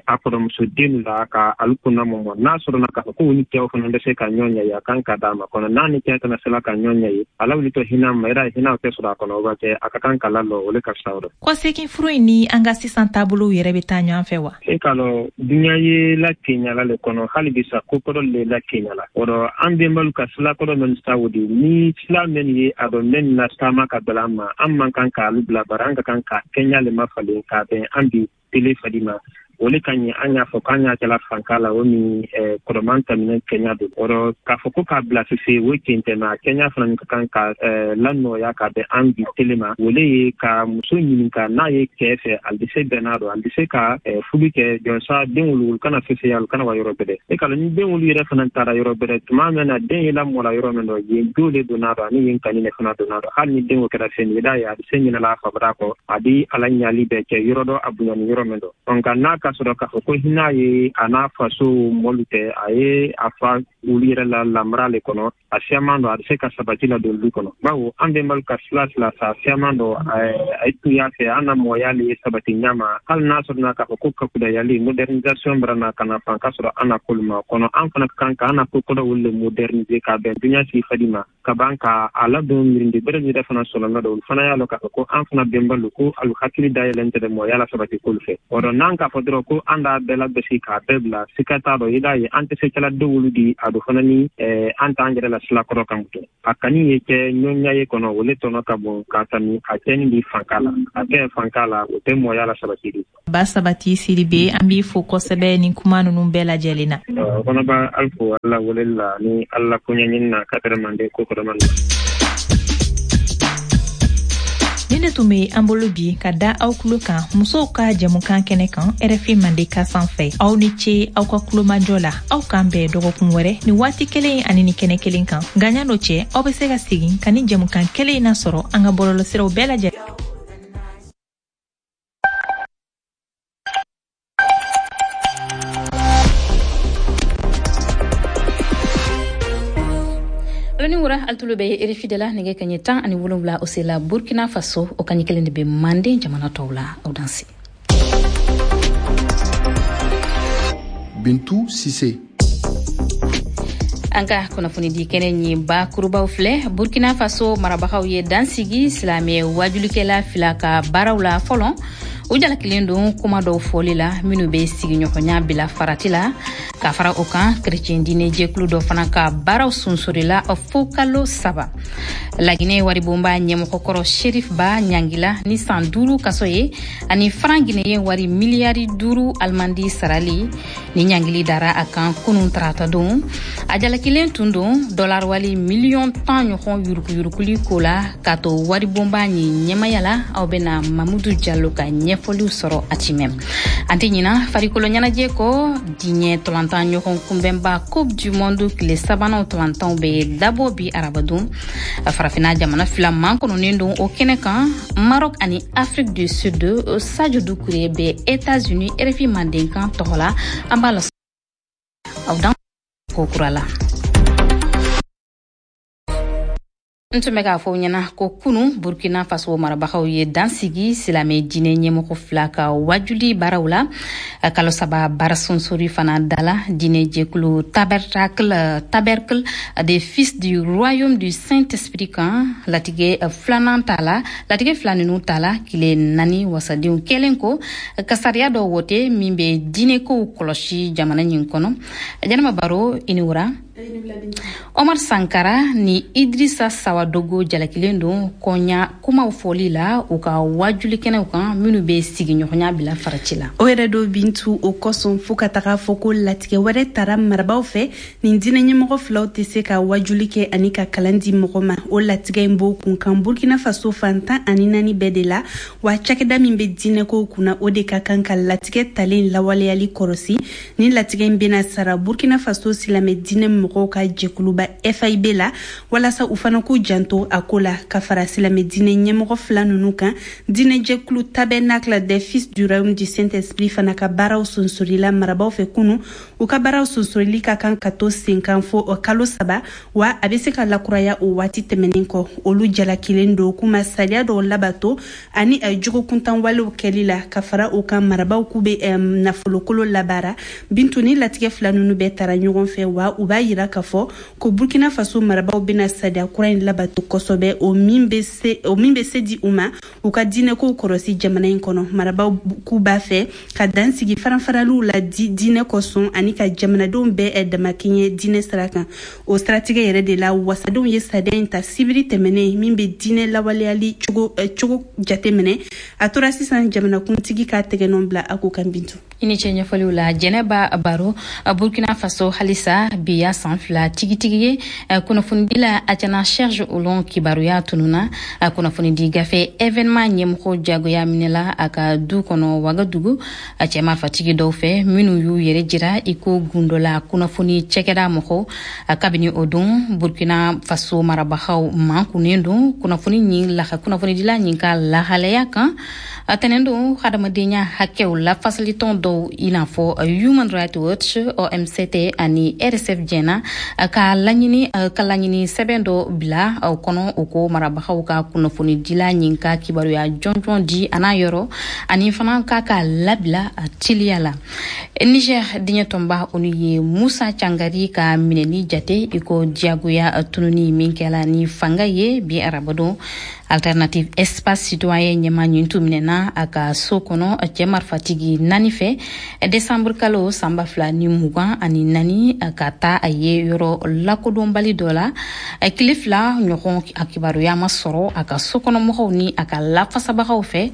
a kɔrɔmuso den la ka alu kunna mɔmɔ. N'a sɔrɔ na k'a fɔ ko ni cɛw fana bɛ se ka ɲɔgɔn ɲɛ ye, a kan ka d'a ma kɔnɔ. N'a ni cɛ tɛna se la ka ɲɔgɔn ɲɛ ye, a lawulitɔ hinɛ ma, yɛrɛ hinɛ tɛ sɔrɔ a kɔnɔ, o b'a kɛ a ka kan ka lalɔ, o de ka fisa o rɔ. Kɔsegin furu in ni an ka sisan taabolow yɛrɛ bɛ taa ɲɔgɔn fɛ wa? E k'a lɔn, dunuya ye la keɲala le kɔnɔ, hali bi sa ko kɔrɔ le la keɲala. O rɔ, an bɛnbalu ka sila kɔrɔ min sa o de ni sila min ye a dɔn mɛn na taama ka bala ma, an man kan k'alu bila bara, an ka kan ka kɛɲa le mafalen k'a bɛn an bi tele fadi ma. O le ka ɲi an y'a fɔ k'an y'a kɛla fanka la o min kɔrɔman taminɛ kɛɲa don. O rɔ k'a fɔ ko k'a bila sise o tiɲɛ tɛ, mais a kɛɲa fana ka kan ka lanɔgɔya ka bɛn an bi tele ma. O le ye ka muso ɲininka n'a ye cɛ fɛ, ale bɛ se bɛnna dɔn, ale bɛ se ka furu kɛ jɔnsa den wulu kana sise ale kana wa yɔrɔ bɛrɛ. E ka ni den wulu yɛrɛ fana taara yɔrɔ bɛrɛ tuma min na den ye lamɔla yɔrɔ min dɔ yen jo le donna dɔn ani yen kani ne fana donna dɔn. Hali ni den o kɛra fɛn ye, i d'a ye a bɛ se ɲinɛla a fabara kɔ, a bɛ ala ɲali bɛɛ kɛ yɔrɔ dɔ a bonya ni yɔrɔ min dɔ. Nka n'a ka sɔrɔ k'a fɔ ko hinɛ ye a n'a faso mɔlu tɛ, a ye a fa olu yɛrɛ la lamara le kɔnɔ, a siyaman dɔ a bɛ se ka sabati la don du kɔnɔ. Bawo an bɛnbalu ka sila sila sa siyaman dɔ a ye tun y'a fɛ an na mɔgɔya le ye sabati ɲama. Hali n'a sɔrɔ k'a fɔ ko kakudayali modernisation bara na ka na fan ka sɔrɔ an na kolu ma kɔnɔ, an fana ka kan ka an na ko kɔrɔ olu le moderniser ka bɛn duɲa sigi fadi ma ka ban ka a ladon mirindi bɛrɛ yɛrɛ fana sɔrɔ dɔ. Olu fana y'a lɔn k'a fɔ ko an fana bɛnbalu ko alu hakili dayɛlɛn tɛ dɛ mɔgɔya la sabati kolu fɛ. O rɔ n'an k'a fɔ dɔrɔn ko an d'a bɛɛ labɛsi k'a bɛɛ bila sika t'a dɔ, i d'a ye an tɛ se kɛla dɔwolu di a do fana ni an t'an yɛrɛ la sila kɔrɔ kan to. A kani ye kɛ ɲɔnya ye kɔnɔ, o le tɔnɔ ka bon k'a tami a kɛni bi fanka la, a kɛ fanka la o tɛ mɔgɔya la sabati di. Ba Sabati Sidibe, an b'i fo kosɛbɛ nin kuma ninnu bɛɛ lajɛlen na. O fana b'a ali fo Ala weleli la ni Ala koɲɛɲini na ka tɛrɛ mande ko kɔrɔ man. Ni ne tun bɛ an bolo bi ka da aw tulo kan musow ka jɛmukan kɛnɛ kan R F I Mandeka sanfɛ. Aw ni ce aw ka kulomajɔ la. Aw k'an bɛn dɔgɔkun wɛrɛ ni waati kelen ani ni kɛnɛ kelen kan. Nka ɲan'o cɛ, aw bɛ se ka segin ka ni jɛmukan kelen in nasɔrɔ an ka bɔlɔlɔsiraw bɛɛ lajɛlen. Ni wura altulo be R F I de la nɛgɛ kaɲɛ tan ani wolonwula o sela Burkina Faso, o kaɲɛ kelen de bɛ Manden jamana tɔw la. Aw danse. Bintu Sise. An ka kunnafoni di kɛnɛ ɲi bakurubaw filɛ. Burkina Faso marabagaw ye dansigi silamɛ wajulikɛla fila ka baaraw la fɔlɔ. U jalakilen don kuma dɔw fɔli la minnu bɛ sigiɲɔgɔnya bila farati la. Ka fara o kan, kerecɛn diinɛ jɛkulu dɔ fana ka baaraw sunsurila fo kalo saba. Laginɛ waribonba ɲɛmɔgɔkɔrɔ Sherif Ba ɲangila ni san duuru kaso ye ani faran Guinée wari miliyari duuru alimandi sarali. Ni ɲangili dara a kan kunun tarata don. A jalakilen tun don dɔlar wali miliyɔn tan ɲɔgɔn yuruguyuruguli ko la k'a to waribonba ɲi ɲɛmaya la. Aw bɛna Mamudu Jalo ka ɲɛfɔliw sɔrɔ a cimɛ. An tɛ ɲina farikolo ɲɛnajɛ kɔ, diɲɛ tɔlantan ɲɔgɔn kunbɛnba Coupe du Monde tile sabanan tɔlantanw bɛ dabɔ bi arabadon. Farafinna jamana fila mankɔnɔnen don o kɛnɛ kan, Maroc ani Afrique du Sud. Sadio Doucouré bɛ États-Unis R F I Mandenkan tɔgɔ la. An b'a la aw dan ko kura la. N tun bɛ k'a fɔ ɲɛna ko kunu Burkina Faso marabagaw ye dansigi silamɛ diinɛ ɲɛmɔgɔ fila ka wajuli baaraw la. Kalo saba baara sonsori fana dala diinɛ jɛkulu Tabernacle Tabernacle des Fils du Royaume du Saint-Esprit kan latigɛ filanan ta la latigɛ fila ninnu ta la tile naani wasadenw kɛlen ko ka sariya dɔ wote min bɛ diinɛkow kɔlɔsi jamana nin kɔnɔ. Jɛnɛba Baro, i ni wura. Omar Sankara ni Idrissa Sawadogo jalakilen don kɔɲa kumaw fɔli la u ka wajulikɛnɛw kan minnu bɛ sigiɲɔgɔnya bila farati la. O yɛrɛ do Bintu, o kosɔn fo ka taga fɔ ko latigɛ wɛrɛ tara marabaw fɛ nin diinɛ ɲɛmɔgɔ filaw tɛ se ka wajuli kɛ ani ka kalan di mɔgɔ ma. O latigɛ in b'o kun kan Burkina Faso fan tan ani naani bɛɛ de la, wa cakɛda min bɛ diinɛkow kunna o de ka kan ka latigɛ talen lawaleyali kɔrɔsi. Nin latigɛ in bɛna sara Burkina Faso silamɛ diinɛ mɔgɔw ka jɛkuluba F I B la walasa u fana k'u janto a ko la. Ka fara silamɛ diinɛ ɲɛmɔgɔ fila ninnu kan, diinɛ jɛkulu Tabernacle des Fils du Royaume du Saint-Esprit fana ka baaraw sonsorila marabaw fɛ kunu. U ka baaraw sonsorili ka kan ka to sen kan fo kalo saba, wa a bɛ se ka lakuraya o waati tɛmɛnen kɔ. Olu jalakilen don k'u ma sariya dɔw labato ani jogokuntan walew kɛli la. Ka fara o kan, marabaw k'u bɛ nafolokolo labaara. Bintu, ni latigɛ fila ninnu bɛɛ tara ɲɔgɔn fɛ, wa u b'a yira k'a fɔ ko Burkina Faso marabaw bɛna sariya kura in labato. labato kosɛbɛ, o min bɛ se o min bɛ se di u ma u ka diinɛkow kɔlɔsi jamana in kɔnɔ. Marabaw k'u b'a fɛ ka dan sigi faranfaraliw la di diinɛ kosɔn ani ka jamanadenw bɛɛ damakɛɲɛ diinɛ sira kan. O siratigɛ yɛrɛ de la, wasadenw ye sariya in ta sibiri tɛmɛnen min bɛ diinɛ lawaleyali cogo cogo jateminɛ. A tora sisan jamanakuntigi ka tɛgɛnɔ bila a ko kan. Bintu, i ni ce ɲɛfɔliw la. Jɛnɛba Baro, Burkina Faso halisa, bi ya san fila tigitigi ye kunnafonidila Athiana Serge Olon kibaruya tununa. Kunnafonidi gafe Événement ɲɛmɔgɔ jagoya minɛla a ka du kɔnɔ Wagadugu a cɛma fatigi dɔw fɛ minnu y'u yɛrɛ jira i ko gundola kunnafoni cɛkɛda mɔgɔw. Kabini o don, Burkina Faso marabagaw mankunnen don kunnafoni ɲin laha kunnafonidila ɲin ka lahalaya kan. A tɛnɛn don, hadamadenya hakɛw lafasalitɔn dɔw i n'a fɔ Human Rights Watch, O M C T ani R S F jɛna ka laɲini ka laɲini sɛbɛn dɔ bila o kɔnɔ, o ko marabagaw ka kunnafonidila ɲin ka kibaruya jɔnjɔn di a n'a yɔrɔ ani fana k'a ka labila teliya la. Niger, diɲɛ tɔnba olu ye Musa Cangari ka minɛli jate i ko diyagoya tununi min kɛla ni fanga ye bi arabadon. Alternative Espace Citoyen ɲɛma ɲin tun minɛna a ka so kɔnɔ cɛ marifatigi naani fɛ desanburu kalo san ba fila ni mugan ani naani ka taa a ye yɔrɔ lakodɔnbali dɔ la. Tile fila ɲɔgɔn, a kibaruya ma sɔrɔ a ka sokɔnɔmɔgɔw ni a ka lafasabagaw fɛ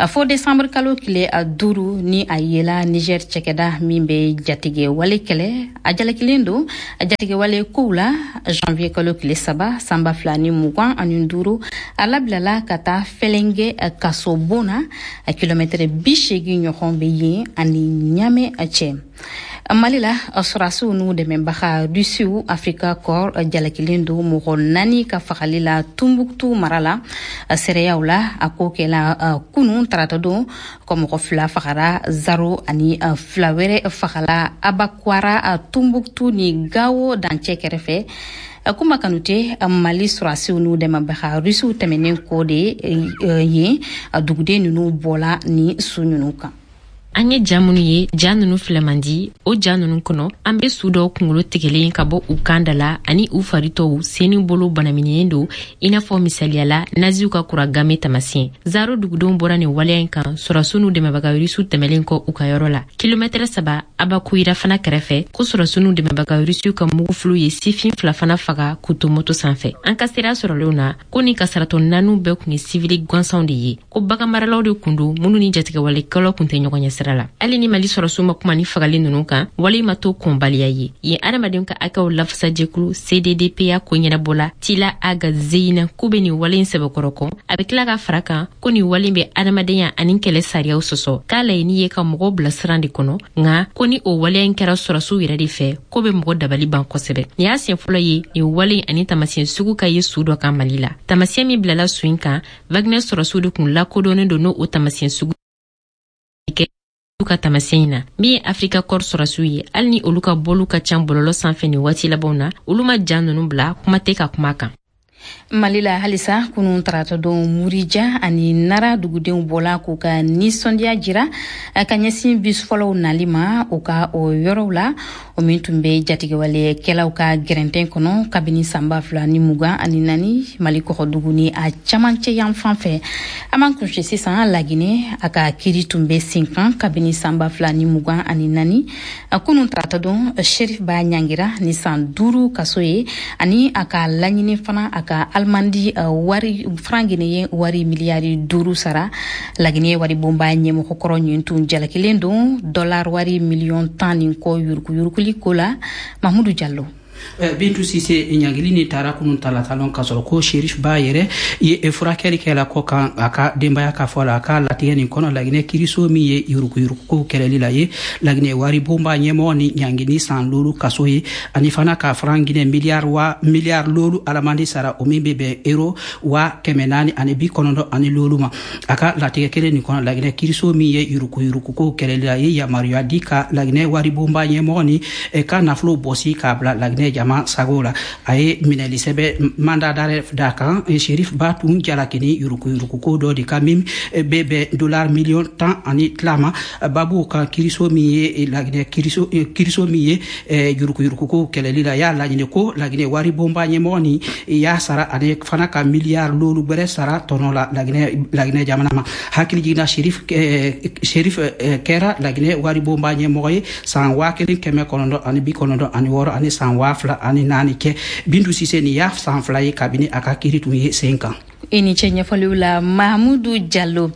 fo desanburu kalo tile duuru ni a yela Niger cɛkɛda min bɛ jatigɛ wale kɛlɛ. A jalakilen don jatigɛ wale kow la. Janvier kalo tile saba san ba fila ni mugan ani duuru, a labilala ka taa Fɛlɛngɛ kaso bon na, kilomɛtɛrɛ bi seegin ɲɔgɔn bɛ yen ani Ɲamɛ cɛ. Mali la, sɔrɔdasiw n'u dɛmɛbaga Rusiw Africa Corps jalakilen don mɔgɔ naani ka fagali la Tumbuktu mara la. Seereyaw la, a ko kɛla kunun tarata don ko mɔgɔ fila fagara Zaro ani fila wɛrɛ fagala Abakwara, Tumbuktu ni Gawo dancɛ kɛrɛfɛ. Kuma Kanute, Mali sɔrɔdasiw n'u dɛmɛbaga Rusiw tɛmɛnen kɔ de yen, duguden ninnu bɔla ni su ninnu kan. An ye ja minnu ye, ja nunu filɛ man di. O ja nunu kɔnɔ, an be su dɔw kungolo tigɛlen ka bɔ u kan da la ani u faritɔw sen ni bolo banamininen don i n'a fɔ misaliya la naziw ka kura game tamasiyɛn. Zaro dugudenw bɔra nin waleya in kan sɔrɔsiw n'u dɛmɛbaga rusiw tɛmɛlen kɔ u ka yɔrɔ la, kilomɛtɛrɛ saba Abakuyira fana kɛrɛfɛ, ko sɔrɔsiw n'u dɛmɛbaga rusiw ka mugufiliw ye sifin fila fana faga k'u to moto sanfɛ. An ka sira sɔrɔlenw na ko ni kasaratɔ naaniw bɛɛ kun ye sivili gansanw de ye, ko baganmaralaw de kun don minnu ni jatigɛwalekɛlaw kun tɛ ɲɔgɔn ɲɛ sira la. Hali ni Mali sɔrɔsiw ma kuma ni fagali nunu kan, wale ma to kɔnbaliya ye yen. Adamadenw ka hakɛw lafasajɛkulu C D D P A ko ɲɛnabɔla Tila Aga Zeyina k'u be nin wale in sɛbɛkɔrɔ kɔn. A be tila ka fara kan ko nin wale bɛ adamadenya ani kɛlɛ sariyaw sɔsɔ, k'a laɲini ye ka mɔgɔw bila siran de kɔnɔ, nka ko ni o waleya in kɛra sɔrɔsiw yɛrɛ de fɛ, ko be mɔgɔ dabali ban kosɛbɛ. Nin y'a siɲɛ fɔlɔ ye nin wale ani tamasiyɛn sugu ka ye su dɔ kan Mali la. Tamasiyɛn min bilala su in kan, Wagner sɔrɔsiw de kun lakodɔnnen don n'o o tamasiyɛn sugu ka tamasiyɛn in na. Min ye Africa Corps sɔrɔsiw ye, hali ni olu ka bɔliw ka ca bɔlɔlɔ sanfɛ nin waati labanw na, olu ma ja nunu bila, kuma tɛ ka kuma kan. Mali la halisa, kunun tarata don, Murija ani Nara dugudenw bɔla k'u ka nisɔndiya jira ka ɲɛsin bus fɔlɔw nali ma u ka o yɔrɔw la, o min tun bɛ jatigɛwalekɛlaw ka gɛrɛntɛn kɔnɔ kabini san ba fila ni mugan ani naani Mali kɔgɔdugu ni a camancɛ yan fan fɛ. An b'an kunse sisan Laginɛ. A ka kiri tun bɛ sen kan kabini san ba fila ni mugan ani naani. Kunun tarata don, Cherif Ba ɲangira ni san duuru kaso ye ani a ka laɲini fana a ka alimandi wari franc guinéen wari miliyari duuru sara. Laginɛ wari bonba ɲɛmɔgɔkɔrɔ ɲin tun jalakilen don dollar wari miliyɔn tan ni kɔ yuruguyuruguli ko la. Mahmudu Jallo. Bintu Sise, ɲangili ni taara kunun talatalon ka sɔrɔ ko Sherif Ba yɛrɛ ye furakɛli kɛla kɔ kan a ka denbaya ka fɔ la. A ka latigɛ nin kɔnɔ, Laginɛ kiriso min ye yuruguyurugukow kɛlɛli la ye Laginɛ wari bonba ɲɛmɔgɔ ni ɲangini san loolu kaso ye ani fana ka franc Guinée miliyari wa miliyari loolu alamandi sara, o min bɛ bɛn euro wa kɛmɛ naani ani bi kɔnɔntɔn ani loolu ma. A ka latigɛ kelen nin kɔnɔ, Laginɛ kiriso min ye yuruguyurugukow kɛlɛli la ye yamaruya di ka Laginɛ wari bonba ɲɛmɔgɔ ni ka nafolo bɔsi k'a bila Laginɛ Laginɛ jama sago la. A ye minɛli sɛbɛn mandat d'arrêt d'a kan. Cherif Ba tun jalakini yuruguyuruguko dɔ de kan min bɛ bɛn dollar miliyɔn tan ani tila ma. Babu kan kiriso min ye Laginɛ kiriso kiriso min ye yuruguyuruguko kɛlɛli la, y'a laɲini ko Laginɛ wari bonba ɲɛmɔgɔ ni y'a sara ani fana ka miliyari loolu gbɛrɛ sara tɔnɔ la Laginɛ Laginɛ jamana ma. Hakili jiginna, Cherif Cherif kɛra Laginɛ wari bonba ɲɛmɔgɔ ye san waa kelen kɛmɛ kɔnɔntɔn ani bi kɔnɔntɔn ani wɔɔrɔ ani san waa fila ani naani kɛ. Bintu Sise, nin y'a san fila ye kabini a ka kiri tun ye sen kan. I ni ce ɲɛfɔliw la, Mahamudu Jalo.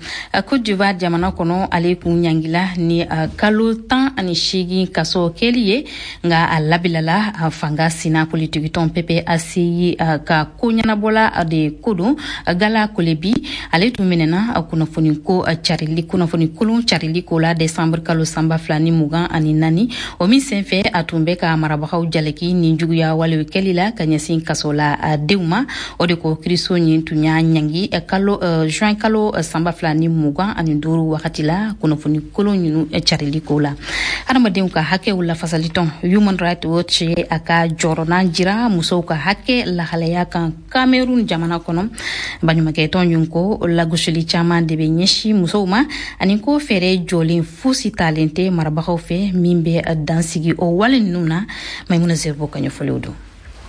Cote d'Ivoire jamana kɔnɔ, ale kun ɲangila ni kalo tan ani seegin kaso kɛli ye, nka a labilala fanga sina politikitɔn P P A C I ka ko ɲɛnabɔla de ko don. Gala Kolebi, ale tun minɛna kunnafoni ko carili, kunnafoni kolon carili ko la desanburu kalo sanba fila ni mugan ani naani. O min senfɛ, a tun bɛ ka marabagaw jalaki ni juguya walew kɛli la ka ɲɛsin kaso la denw ma. O de ko kiriso ɲin tun y'a ɲangi kalo juin kalo sanba fila ni mugan ani duuru wagati la, kunnafoni kolon ninnu carili ko la. Hadamadenw ka hakɛw lafasalitɔn Human Rights Watch ye a ka jɔrɔnan jira musow ka hakɛ lahalaya kan Cameroun jamana kɔnɔ. Baɲumankɛtɔn ɲin ko lagosili caman de bɛ ɲɛsin musow ma, ani ko fɛɛrɛ jɔlen fosi talen tɛ marabagaw fɛ min bɛ dansigi o wale ninnu na. Maimuna Zerbo ka ɲɛfɔliw don.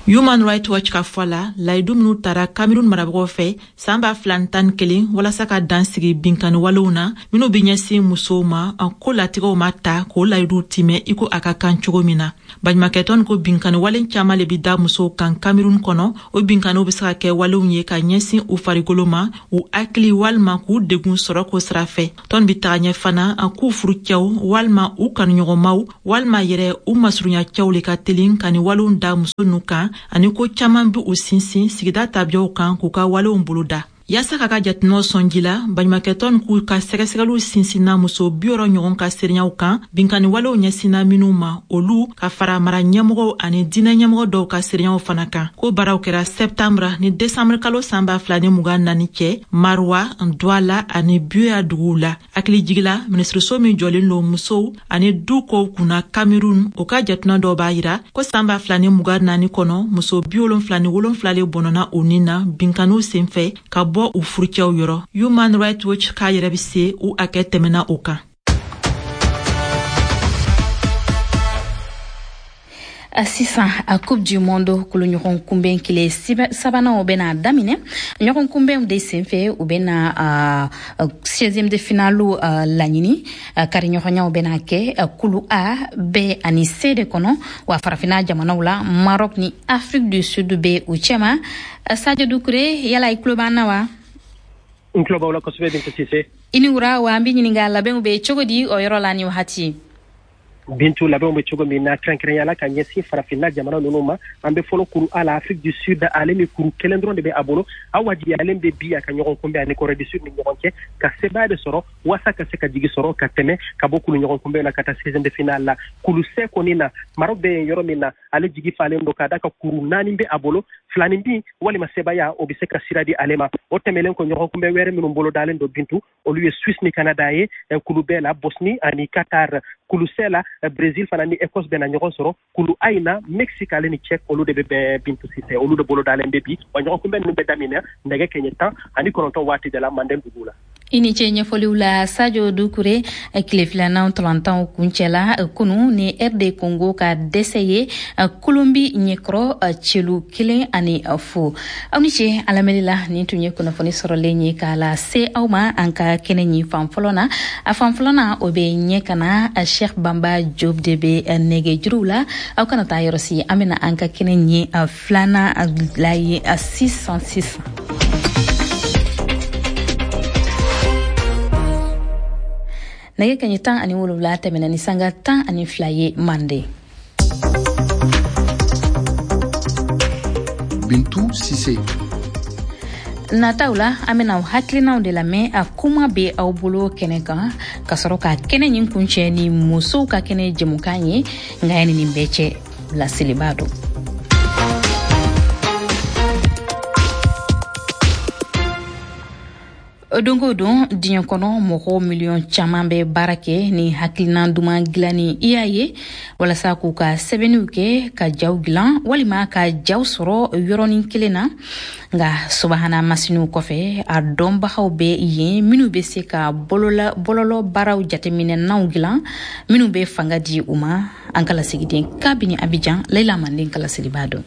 Human Rights Watch ka fɔ la, layidu minnu tara Cameroun marabagaw fɛ san ba fila tan ni kelen walasa ka dan sigi binkani walew na minnu bɛ ɲɛsin musow ma, ko latigɛw ma ta k'o layiduw timɛ i ko a ka kan cogo min na. Baɲumankɛtɔn ko binkani wale caman le bi da musow kan Cameroun kɔnɔ. O binkaniw bɛ se ka kɛ walew ye ka ɲɛsin u farikolo ma, u hakili, walima k'u degun sɔrɔ ko sira fɛ. Tɔn bi taga ɲɛ fana k'u furucɛw walima u kanuɲɔgɔnmaw walima yɛrɛ u masurunya cɛw le ka telin ka ni walew da muso nu kan, ani ko caaman be u sinsin sigida tabiyaw kan k'u ka walew boloda. Yaasa ka ka jateminɛw sɔnji la, baɲumakɛtɔn k'u ka sɛgɛsɛgɛliw sinsinna muso bi wɔrɔ ɲɔgɔn ka seereyaw kan, binkani walew ɲɛsinna minw ma, olu ka fara mara ɲɛmɔgɔw ani diinɛ ɲɛmɔgɔ dɔw ka seereyaw fana kan. Ko baaraw kɛra sɛptanbra ni desanburu kalo san ba fila ni mugan naani cɛ, Marwa, Douala ani Buea duguw la. Hakili jigila, minisiriso min jɔlen don musow ani du kow kunna Cameroun, o ka jateminɛ dɔw b'a yira ko san ba fila ni mugan naani kɔnɔ, muso bi wolonfila ni wolonfila le bɔnɔna u nin na binkaniw senfɛ ka bɔ u furucɛw yɔrɔ. Human Rights Watch k'a yɛrɛ be se u hakɛ tɛmɛna o kan. Sisan, a Coupe du Monde kulu ɲɔgɔn kunbɛn kile sabananw bɛna daminɛ. Ɲɔgɔn kunbɛnw de senfɛ, u bɛna seizième de finale laɲini. Kari ɲɔgɔnyaw bɛna kɛ kulu A, B ani C de kɔnɔ. Wa farafina jamanaw la, Maroc ni Afrique du Sud bɛ u cɛma. Sadio Dukure, yala i tulo b'an na wa? N tulo b'aw la kosɛbɛ, Bintu Sise. I ni wura. Wa an bɛ ɲininka, labɛnw bɛ cogo di o yɔrɔ la ni wagati? Bintu, labɛnw bɛ cogo min na, kɛrɛnkɛrɛnya la ka ɲɛsin farafinna jamana ninnu ma, an bɛ fɔlɔ kuru A la. Afrique du Sud, ale ni kuru kelen dɔrɔn de bɛ a bolo. A wajibiyalen bɛ bi a ka ɲɔgɔn kunbɛn ani Corée du Sud ni ɲɔgɔn cɛ ka sebaaya de sɔrɔ walasa ka se ka jigi sɔrɔ ka tɛmɛ ka bɔ kulu ɲɔgɔn kunbɛn la ka taa seizième de finale la. Kulu C kɔni na, Maroc bɛ yen yɔrɔ min na, ale jigi falen don ka d'a ka kuru naani bɛ a bolo. Filanin bin walima sebaaya, o bɛ se ka sira di ale ma. O tɛmɛnen kɔ, ɲɔgɔn kunbɛn wɛrɛ minnu bolo dalen don, Bintu, olu ye Suisse ni Canada ye kulu B la, Bosnie ani Qatar kulu C la, Brésil fana ni Écosse bɛna ɲɔgɔn sɔrɔ. Kulu A in na, Mexique ale ni Tchèque, olu de bɛ bɛn, Bintu Sise, olu de bolo dalen bɛ bi. Wa ɲɔgɔn kunbɛn ninnu bɛ daminɛ nɛgɛ kɛɲɛ tan ani kɔnɔntɔn waati de la Manden dugu la. I ni ce ɲɛfɔliw la, Sadio Dukure. Tile filanan tɔlantanw kuncɛla kunu ni R D Congo ka dɛsɛ ye Kolombi ɲɛkɔrɔ celu kelen ani fu. Aw ni ce a lamɛnni la. Nin tun ye kunnafoni sɔrɔlen ye k'a la se aw ma an ka kɛnɛ ɲi fan fɔlɔ na. A fan fɔlɔ na, o bɛ ɲɛ ka na. Cheikh Bamba Job de bɛ nɛgɛjuruw la. Aw kana taa yɔrɔ si, an bɛna an ka kɛnɛ ɲi filanan la ye sisan sisan. Nɛgɛ kaɲɛ tan ani wolonwula tɛmɛna ni sanga tan ani fila ye Mande. Bintu Sise. Nataw la, an bɛna hakilinaw de lamɛn a kuma bɛ aw bolo kɛnɛ kan, ka sɔrɔ ka kɛnɛ ɲin kuncɛ ni musow ka kɛnɛ jɛmukan ye. Nka yanni nin bɛɛ cɛ, laseliba don. Don o don diɲɛ kɔnɔ, mɔgɔ miliyɔn caman bɛ baara kɛ ni hakilina duman dilanni I A ye walasa k'u ka sɛbɛnniw kɛ, ka jaw dilan walima ka jaw sɔrɔ yɔrɔnin kelen na. Nka subahana masiniw kɔfɛ, a dɔnbagaw bɛ yen minnu bɛ se ka bɔlɔlɔ baaraw jateminɛnaw dilan minnu bɛ fanga di u ma. An ka lasigiden kabini Abidjan, Leila Manden kalasiriba dɔn.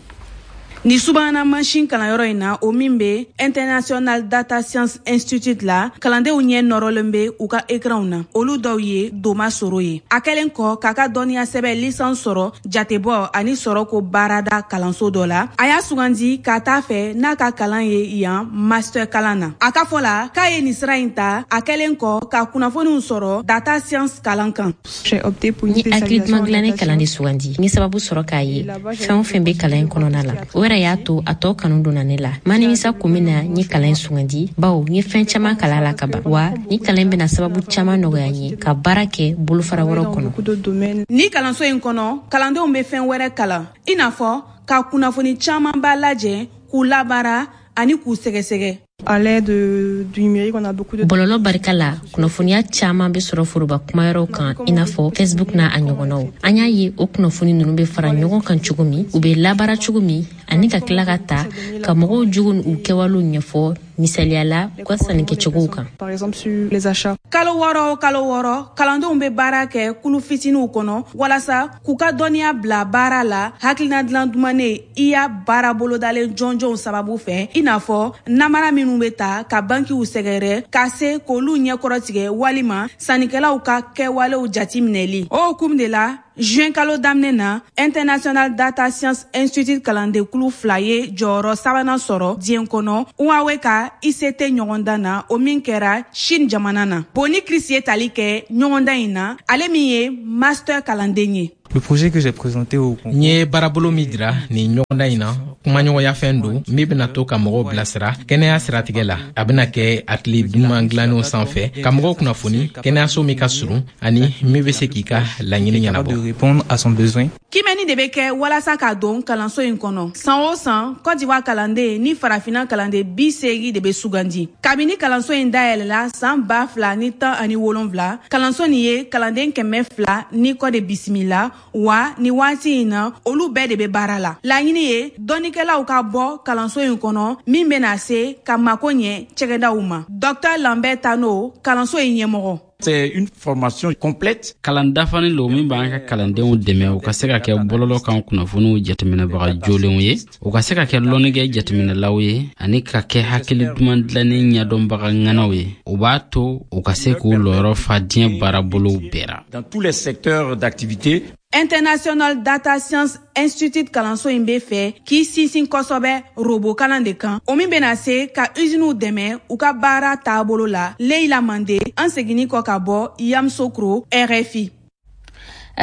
Ni subahana mansin kalanyɔrɔ in na, o min bɛ International Data Science Institute la, kalandenw ɲɛ nɔrɔlen bɛ u ka ekranw na. Olu dɔw ye Doma Soro ye. A kɛlen kɔ k'a ka dɔnniya sɛbɛn licence sɔrɔ jatebɔ ani sɔrɔko baarada kalanso dɔ la, a y'a sugandi ka taa fɛ n'a ka kalan ye yan master kalan na. A ka fɔ la k'a ye nin sira in ta a kɛlen kɔ ka kunnafoniw sɔrɔ data science kalan kan. N ye hakili duman dilanni kalan de sugandi. N ye sababu sɔrɔ k'a ye fɛn o fɛn bɛ kalan in kɔnɔna la, o yɛrɛ y'a to a tɔ kanu donna ne la. Ma nimisa kun min na n ye kalan in sugandi, bawo n ye fɛn caman kalan la ka ban, wa ni kalan in bɛna sababu caman nɔgɔya n ye ka baara kɛ bolofara wɛrɛw kɔnɔ. Ni kalanso in kɔnɔ, kalandenw bɛ fɛn wɛrɛ kalan, i n'a fɔ ka kunnafoni camanba lajɛ, k'u labaara ani k'u sɛgɛsɛgɛ. À l'aide du numérique, on a beaucoup de Bɔlɔlɔ barika la, kunnafoniya caaman be sɔrɔ foroba kumayɔrɔw kan, i n'a fɔ Facebook n'a a ɲɔgɔnnaw. An y'a ye o kunnafoni nunu be fara ɲɔgɔn kan cogo min, u be labaara cogo min, ani ka tila ka ta ka mɔgɔw jogo u kɛwalew ɲɛfɔ, misaliya la u ka sannikɛcogow kan. Par exemple sur les achats. Kalo wɔɔrɔ o kalo wɔɔrɔ, kalandenw bɛ baara kɛ kulu fitiniw kɔnɔ walasa k'u ka dɔnniya bila baara la hakilina dilan dumanen I A baara bolodalen jɔnjɔnw sababu fɛ, i n'a fɔ namara minnu bɛ ta ka bankiw sɛgɛrɛ ka se k'olu ɲɛkɔrɔtigɛ walima sannikɛlaw ka kɛwalew jati minɛli. O hukumu de la, juin kalo daminɛ na, International Data Science Institute kalandenkulu fila ye jɔyɔrɔ sabanan sɔrɔ diɲɛ kɔnɔ Huawei ka I C T ɲɔgɔndan na, o min kɛra Chine jamana na. Boni Chris ye tali kɛ ɲɔgɔndan in na, ale min ye master kalanden ye. Le projet que j'ai présenté au N ye baarabolo min jira nin ɲɔgɔndan in na, kumaɲɔgɔnya fɛn don min bena to ka mɔgɔw bilasira kɛnɛya siratigɛ la. A bena kɛ hakili duman dilannenw sanfɛ ka mɔgɔw kunnafoni kɛnɛyaso min ka surun ani min be se k'i ka laɲini ɲɛnabɔ. De répondre à son besoin. Kimɛni de bɛ kɛ walasa ka don kalanso in kɔnɔ. San o san, Cote d'Ivoire kalanden ni Farafina kalanden bi seegin de bɛ sugandi. Kabini kalanso in dayɛlɛla san ba fila ni tan ani wolonfila, kalanso nin ye kalanden kɛmɛ fila ni kɔ de bisimila, wa ni waati in na, olu bɛɛ de bɛ baara la. Laɲini ye dɔnnikɛlaw ka bɔ kalanso in kɔnɔ min bɛna se ka mako ɲɛ cɛgɛdaw ma. Docteur Lambert Tano, kalanso in ɲɛmɔgɔ. C'est une formation complète. Kalan dafanin lo min b'an ka kalandenw dɛmɛ u ka se ka kɛ bɔlɔlɔ kan kunnafoniw jateminɛbaga jolenw ye, u ka se ka kɛ lɔnnikɛ jateminɛlaw ye, ani ka kɛ hakili duman dilannen ɲɛdɔnbaga ŋanaw ye. O b'a to u ka se k'u lɔyɔrɔ fa diɲɛ baarabolow bɛɛ ra. Dans tous les secteurs d'activité. International Data Science Institute kalanso in bɛ fɛ k'i sinsin kosɛbɛ robot kalan de kan, o min bɛna se ka usiniw dɛmɛ u ka baara taabolo la. Leila Mande, an seginni kɔ ka bɔ Yamoussoukro, R F I.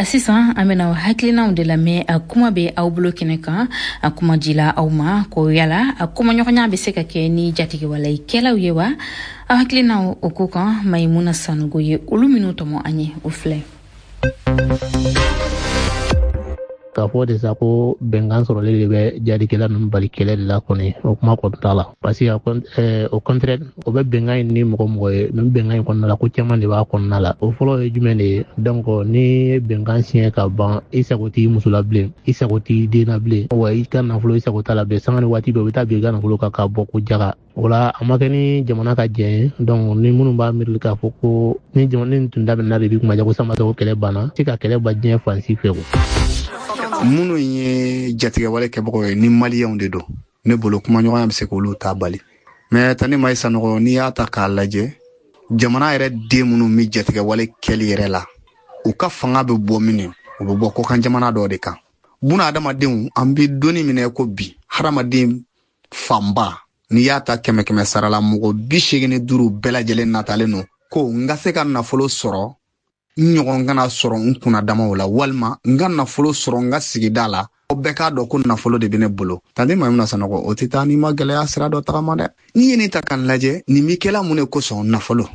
Sisan an bena hakilinaw de lamɛn. A kuma bɛ aw bolo kɛnɛ kan, a kuma dila aw ma ko yala a kumaɲɔgɔnya bɛ se ka kɛ ni jatigɛwalekɛlaw ye wa? Aw hakilinaw o ko kan, Mayimuna Sanogo ye olu minnu tɔmɔ an ye, o filɛ. K'a fɔ de sa ko bɛnkan sɔrɔlen de bɛ jadikɛla ninnu bali kɛlɛ de la kɔni, o kuma kɔni t'a la, parce que au contraire, o bɛ bɛnkan in ni mɔgɔ mɔgɔ ye nin bɛnkan in kɔnɔna la, ko caman de b'a kɔnɔna la. O fɔlɔ ye jumɛn de ye? Donc ni ye bɛnkan siɲɛ ka ban, i sago t'i muso la bilen, i sago t'i den na bilen, wa i ka nafolo, i sago t'a la bilen. Sanga ni waati bɛɛ, u bɛ taa bin i ka nafolo kan k'a bɔ ko jaga. O la, a ma kɛ ni jamana ka jɛn ye. Donc ni minnu b'a miiri k'a fɔ ko ni jamana ni tun daminɛna de bi kuma ja ko san ko kɛlɛ banna, se ka kɛlɛ ban diɲɛ fan si fɛ o. Minnu ye jatigɛwale kɛbagaw ye, ni Maliyɛnw de don, ne bolo kumaɲɔgɔnya bɛ se k'olu ta bali. Mais Tani Mayi Sanɔgɔ, n'i y'a ta k'a lajɛ, jamana yɛrɛ den minnu bɛ jatigɛwale kɛli yɛrɛ la, u ka fanga bɛ bɔ min, u bɛ bɔ kɔkan jamana dɔ de kan. Buna adamadenw, an bɛ donni minɛ ko bi, hadamaden fanba, n'i y'a ta kɛmɛ kɛmɛ sara la, mɔgɔ bi seegin ni duuru bɛɛ lajɛlen natalen don ko n ka se ka nafolo sɔrɔ, n ɲɔgɔn kana sɔrɔ n kunna damaw la, walima n ka nafolo sɔrɔ n ka sigida la, o bɛɛ k'a dɔn ko nafolo de bɛ ne bolo. Tante Mayimuna Sanɔgɔ, o tɛ taa n'i ma gɛlɛya sira dɔ tagama dɛ. N'i ye nin ta k'a lajɛ, nin bɛ kɛla mun de kosɔn? Nafolo.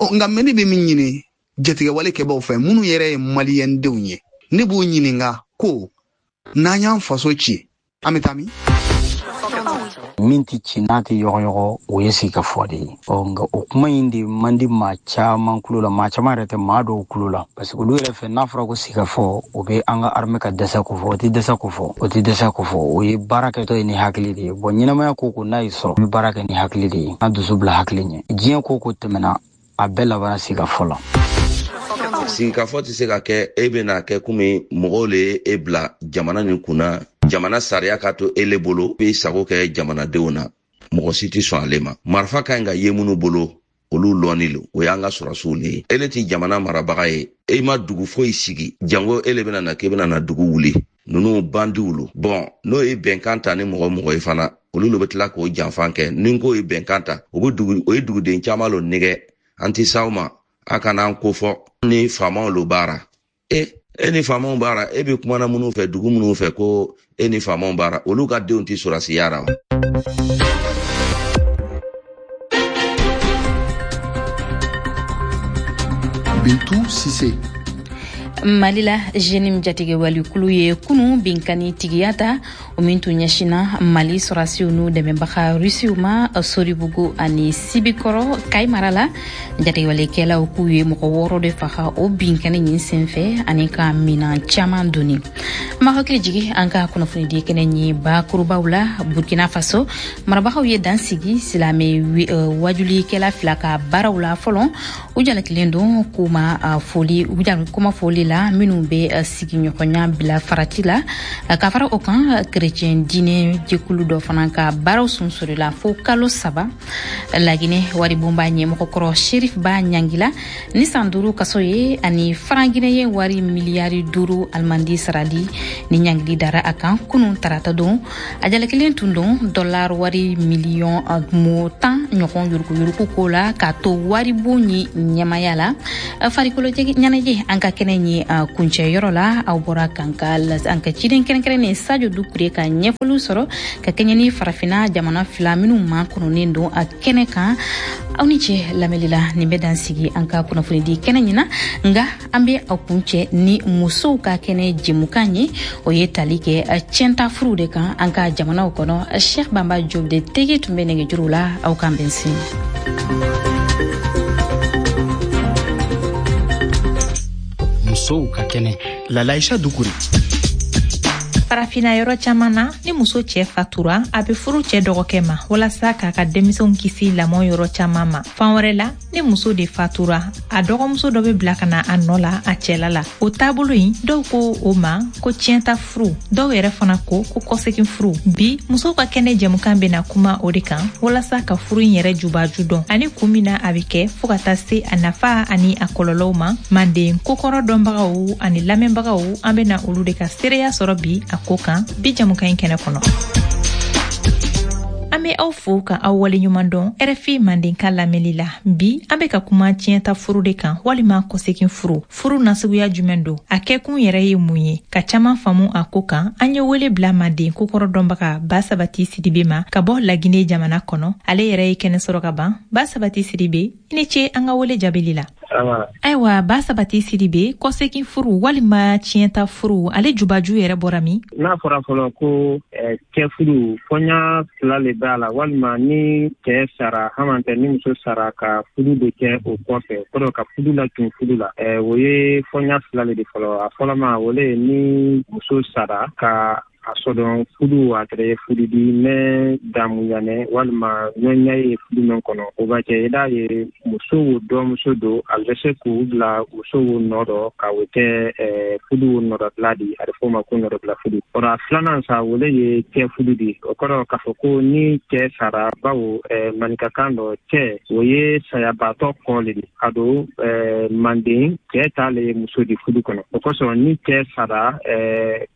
Ɔ nka mɛ ne bɛ min ɲini jatigɛwale kɛbaw fɛ, minnu yɛrɛ ye Maliyɛndenw ye, ne b'u ɲininka ko n'an y'an faso ci, an bɛ taa min? Min tɛ ci n'a tɛ yɔgɔyɔgɔ, o ye sigikafɔ de ye. Ɔ nka o kuma in de man di maa caman kulo la, maa caman yɛrɛ tɛ maa dɔw kulo la, parce que olu yɛrɛ fɛ n'a fɔra ko sigikafɔ, o bɛ an ka armée ka dɛsɛ ko fɔ, o tɛ dɛsɛ ko fɔ, o tɛ dɛsɛ ko fɔ, o ye baara kɛtɔ ye ni hakili de ye. Bon, ɲɛnamaya ko ko n'a y'i sɔrɔ, i bɛ baara kɛ ni hakili de ye, an dusu bila hakili ɲɛ. Diɲɛ ko ko tɛmɛna, a bɛɛ labanna sigikafɔ la. Sigikafɔ tɛ se ka kɛ e bɛna kɛ komi mɔgɔw le ye e bila jamana nin kunna, jamana sariya ka to e le bolo, i sago kɛ jamanadenw na, mɔgɔ si tɛ sɔn ale ma. Marifa ka ɲi ka ye minnu bolo, olu lɔnni lo, o y'an ka sɔrɔsiw le ye. E le tɛ jamana marabaga ye, e ma dugu foyi sigi, jango e le bɛna na k'e bɛna na dugu wuli. Ninnu bandiw lo. Bɔn, n'o ye bɛnkan ta ni mɔgɔ mɔgɔ ye fana, olu le bɛ tila k'o janfan kɛ. Ni ko ye bɛnkan ta, o bɛ dugu, o ye duguden caman lo nɛgɛ. An tɛ s'aw ma, a kana an ko fɔ ni faamaw lo baara. E e ni faamaw baara, e bɛ kumana minnu fɛ, dugu minnu fɛ ko e ni faamaw baara, olu ka denw tɛ sɔrɔsiya ra wa? Bintu Sise. Mali la, Jenim jatigɛwalikulu ye kunu binkani tigiya ta, o min tun ɲɛsinna Mali sɔrɔsiw n'u dɛmɛbaga Rusiw ma Soribugu ani Sibikɔrɔ Kayi mara la. Jatigɛwalikɛlaw k'u ye mɔgɔ wɔɔrɔ de faga o binkani nin senfɛ ani ka minan caman doni. Ma hakili jigi an ka kunnafonidi kɛnɛ ɲi bakurubaw la. Burkina Faso marabagaw ye dan sigi silamɛ wajulikɛla fila ka baaraw la fɔlɔ. U jalakilen don k'u ma foli, u kuma foli la minnu bɛ sigiɲɔgɔnya bila farati la. Ka fara o kan, kerecɛn diinɛ jɛkulu dɔ fana ka baaraw sunsurila fo kalo saba. Laginɛ waribonba ɲɛmɔgɔkɔrɔ Sherif Ba ɲangila ni san duuru kaso ye ani faranginɛ ye wari miliyari duuru alimandi sarali ni ɲangili dara a kan kunun tarata don. A jalakilen tun don dɔlar wari miliyɔn mo tan ɲɔgɔn yuruguyurugu ko la k'a to waribon ye ɲɛmaya la. Farikolo ɲɛnajɛ an ka kɛnɛ ye kuncɛ yɔrɔ la, aw bɔra k'an ka an ka ciden kɛrɛnkɛrɛnnen Sadio Dukure ka ɲɛfɔliw sɔrɔ ka kɛɲɛ ni farafinna jamana fila minnu ma kɔnɔnen don a kɛnɛ kan. Aw ni ce lamɛnli la, nin bɛ dan sigi an ka kunnafonidi kɛnɛ ɲina, nka an bɛ aw kuncɛ ni musow ka kɛnɛ jɛmukan ye, o ye tali kɛ tiɲɛta furuw de kan an ka jamanaw kɔnɔ. Cheikh Bamba Diop de tege tun bɛ nɛgɛjuru la, aw k'an bɛn sini. Musow ka kɛnɛ. Lalaïcha Dukure. Farafinna yɔrɔ caman na, ni muso cɛ fatura, a bɛ furu cɛ dɔgɔkɛ ma walasa k'a ka denmisɛnw kisi lamɔ yɔrɔ caman ma. Fan wɛrɛ la, ni muso de fatura, a dɔgɔmuso dɔ bɛ bila ka na a nɔ la a cɛla la. O taabolo in, dɔw ko o ma ko tiɲɛta furu, dɔw yɛrɛ fana ko ko kɔsegin furu. Bi, musow ka kɛnɛ jɛmukan bɛna kuma o de kan walasa ka furu in yɛrɛ jubaju dɔn ani kun min na a bɛ kɛ, fo ka taa se a nafa ani a kɔlɔlɔw ma. Manden kokɔrɔ dɔnbagaw ani lamɛnbagaw, an bɛna olu de ka seereya sɔrɔ bi a ko kan bi jɛmukan in kɛnɛ kɔnɔ. An bɛ aw fo ka aw waleɲuman dɔn R F I Mandenka lamɛnli la. Bi an bɛ ka kuma tiɲɛta furu de kan walima kɔsegin furu. Furu nasuguya jumɛn don? A kɛkun yɛrɛ ye mun ye? Ka caman faamu a ko kan, an ye wele bila Manden kokɔrɔ dɔnbaga Ba Sabati Sidibe ma ka bɔ Laginɛ jamana kɔnɔ. Ale yɛrɛ ye kɛnɛ sɔrɔ ka ban. Ba Sabati Sidibe, i ni ce an ka wele jaabili la. Ayiwa, Ba Sabati Sidibe, kɔsegin furu walima tiɲɛta furu, ale jubaju yɛrɛ bɔra min? N'a fɔra fɔlɔ ko cɛ furu fɔɲa fila le b'a la, walima ni cɛ sara hamantɛ ni muso sara ka furu de kɛ o kɔfɛ, kɔrɔ ka furu la tun furu la, o ye fɔɲa fila le de fɔlɔ. A fɔlɔ ma, o le ye ni muso sara ka a sɔdɔn furu a kɛra furu di mɛ damuyanɛ walima ɲɔɲa ye furu min kɔnɔ, o b'a kɛ i d'a ye muso wo dɔmuso don, a bɛ se k'u bila muso wo nɔ dɔ ka o kɛ furu wo nɔdɔbila di, a bɛ fɔ o ma ko nɔdɔbila furu. Kɔrɔ a filanan sa, o le ye cɛ furu di. O kɔrɔ k'a fɔ ko ni cɛ sara, bawo maninkakan dɔ cɛ o ye sayabaatɔ kɔ le di, a don manden cɛ t'ale ye muso di furu kɔnɔ. O kosɔn ni cɛ sara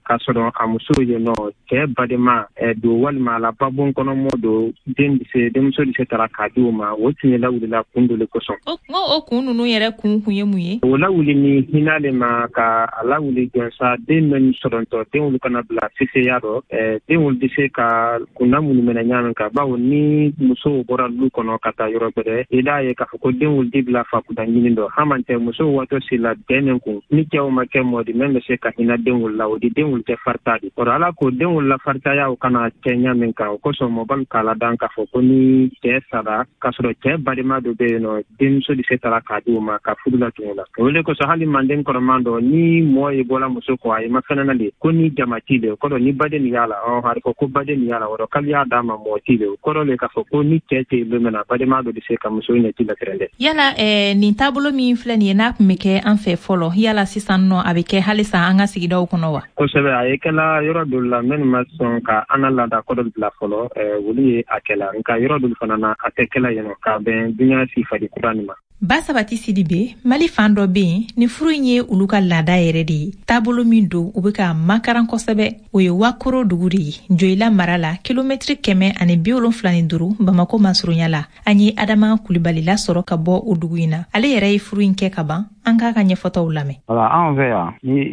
k'a sɔrɔ a muso ye nɔ cɛ badenma don walima a la babon kɔnɔ mɔ don, den bɛ se denmuso bɛ se tara k'a di o ma, o tun ye lawulila kun dɔ le kosɔn. O o kun ninnu yɛrɛ kun kun ye mun ye? O lawuli ni hinɛ le ma ka a lawuli jɔnsa den min sɔrɔntɔ, den olu kana bila seseya dɔ, den olu bɛ se ka kunna minnu minɛ ɲa min kan, bawo ni musow bɔra lu kɔnɔ ka taa yɔrɔ gbɛrɛ, i d'a ye k'a fɔ ko den olu di bila fakunda ɲini dɔ, haman tɛ musow waatɔ si la den min kun ni cɛw ma kɛ mɔ di min bɛ se ka hinɛ den olu la, o di den olu tɛ farita di. Kɔrɔ ala Ala ko denw lafaritaya o kana kɛ ɲa min kan, o kosɔn mɔbalu k'a ladan k'a fɔ ko ni cɛɛ sara k'a sɔrɔ cɛɛ balima dɔ bɛ yen nɔ, denmuso di se tara k'a di o ma ka fudu latun o la. O le kosɔn hali manden kɔrɔman dɔ, ni mɔɔ ye bɔla muso kɔ, a ye mafɛnɛ le ko ni jamati le, o kɔrɔ ni baden nin y'a la, ɔ a fɔ ko baden nin y'a la, o rɔ k'ale y'a d'a ma mɔɔ ti le, o kɔrɔ le k'a fɔ ko ni cɛɛ tɛ yen don min na, balima dɔ di se ka muso ɲɛci latɛrɛ dɛ. Yala eh, nin taabolo min filɛ nin ye, n'a tun bɛ kɛ an fɛ fɔlɔ, yala sisan nɔ a bɛ kɛ halisa an ka sigidaw kɔnɔ wa? Kosɛbɛ, a ye kɛla yɔrɔ dɔ la minnu ma sɔn ka an ka laada kɔrɔ bila fɔlɔ, olu ye a kɛla, nka yɔrɔ dɔ fana na a tɛ kɛla yen nɔ k'a bɛn dunuya sifadi kura nin ma. Ba Sabati Sidibe, Mali fan dɔ bɛ yen ni furu in ye olu ka laada yɛrɛ de ye. Taabolo min don, u bɛ ka makaran kosɛbɛ, o ye Wakoro dugu de ye, Joyila mara la, kilomɛtiri kɛmɛ ani bi wolonfila ni duuru Bamako masurunya la. An ye Adama Kulibali lasɔrɔ ka bɔ o dugu in na. Ale yɛrɛ ye furu in kɛ ka ban, an k'a ka ɲɛfɔtaw lamɛn. Wala anw fɛ yan, ni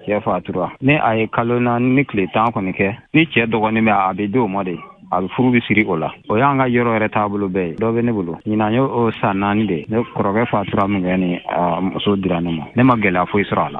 cɛ fatura, ni a ye kalo naani ni tile tan kɔni kɛ, ni cɛ dɔgɔnin bɛ, a bɛ di o ma de, a bɛ furu bɛ siri o la. O y'an ka yɔrɔ yɛrɛ taabolo bɛɛ ye. Dɔ bɛ ne bolo ɲinan, y'o san naani de. Ne kɔrɔkɛ fatura min kɛ, ni muso dira ne ma, ne ma gɛlɛya foyi sɔrɔ a la.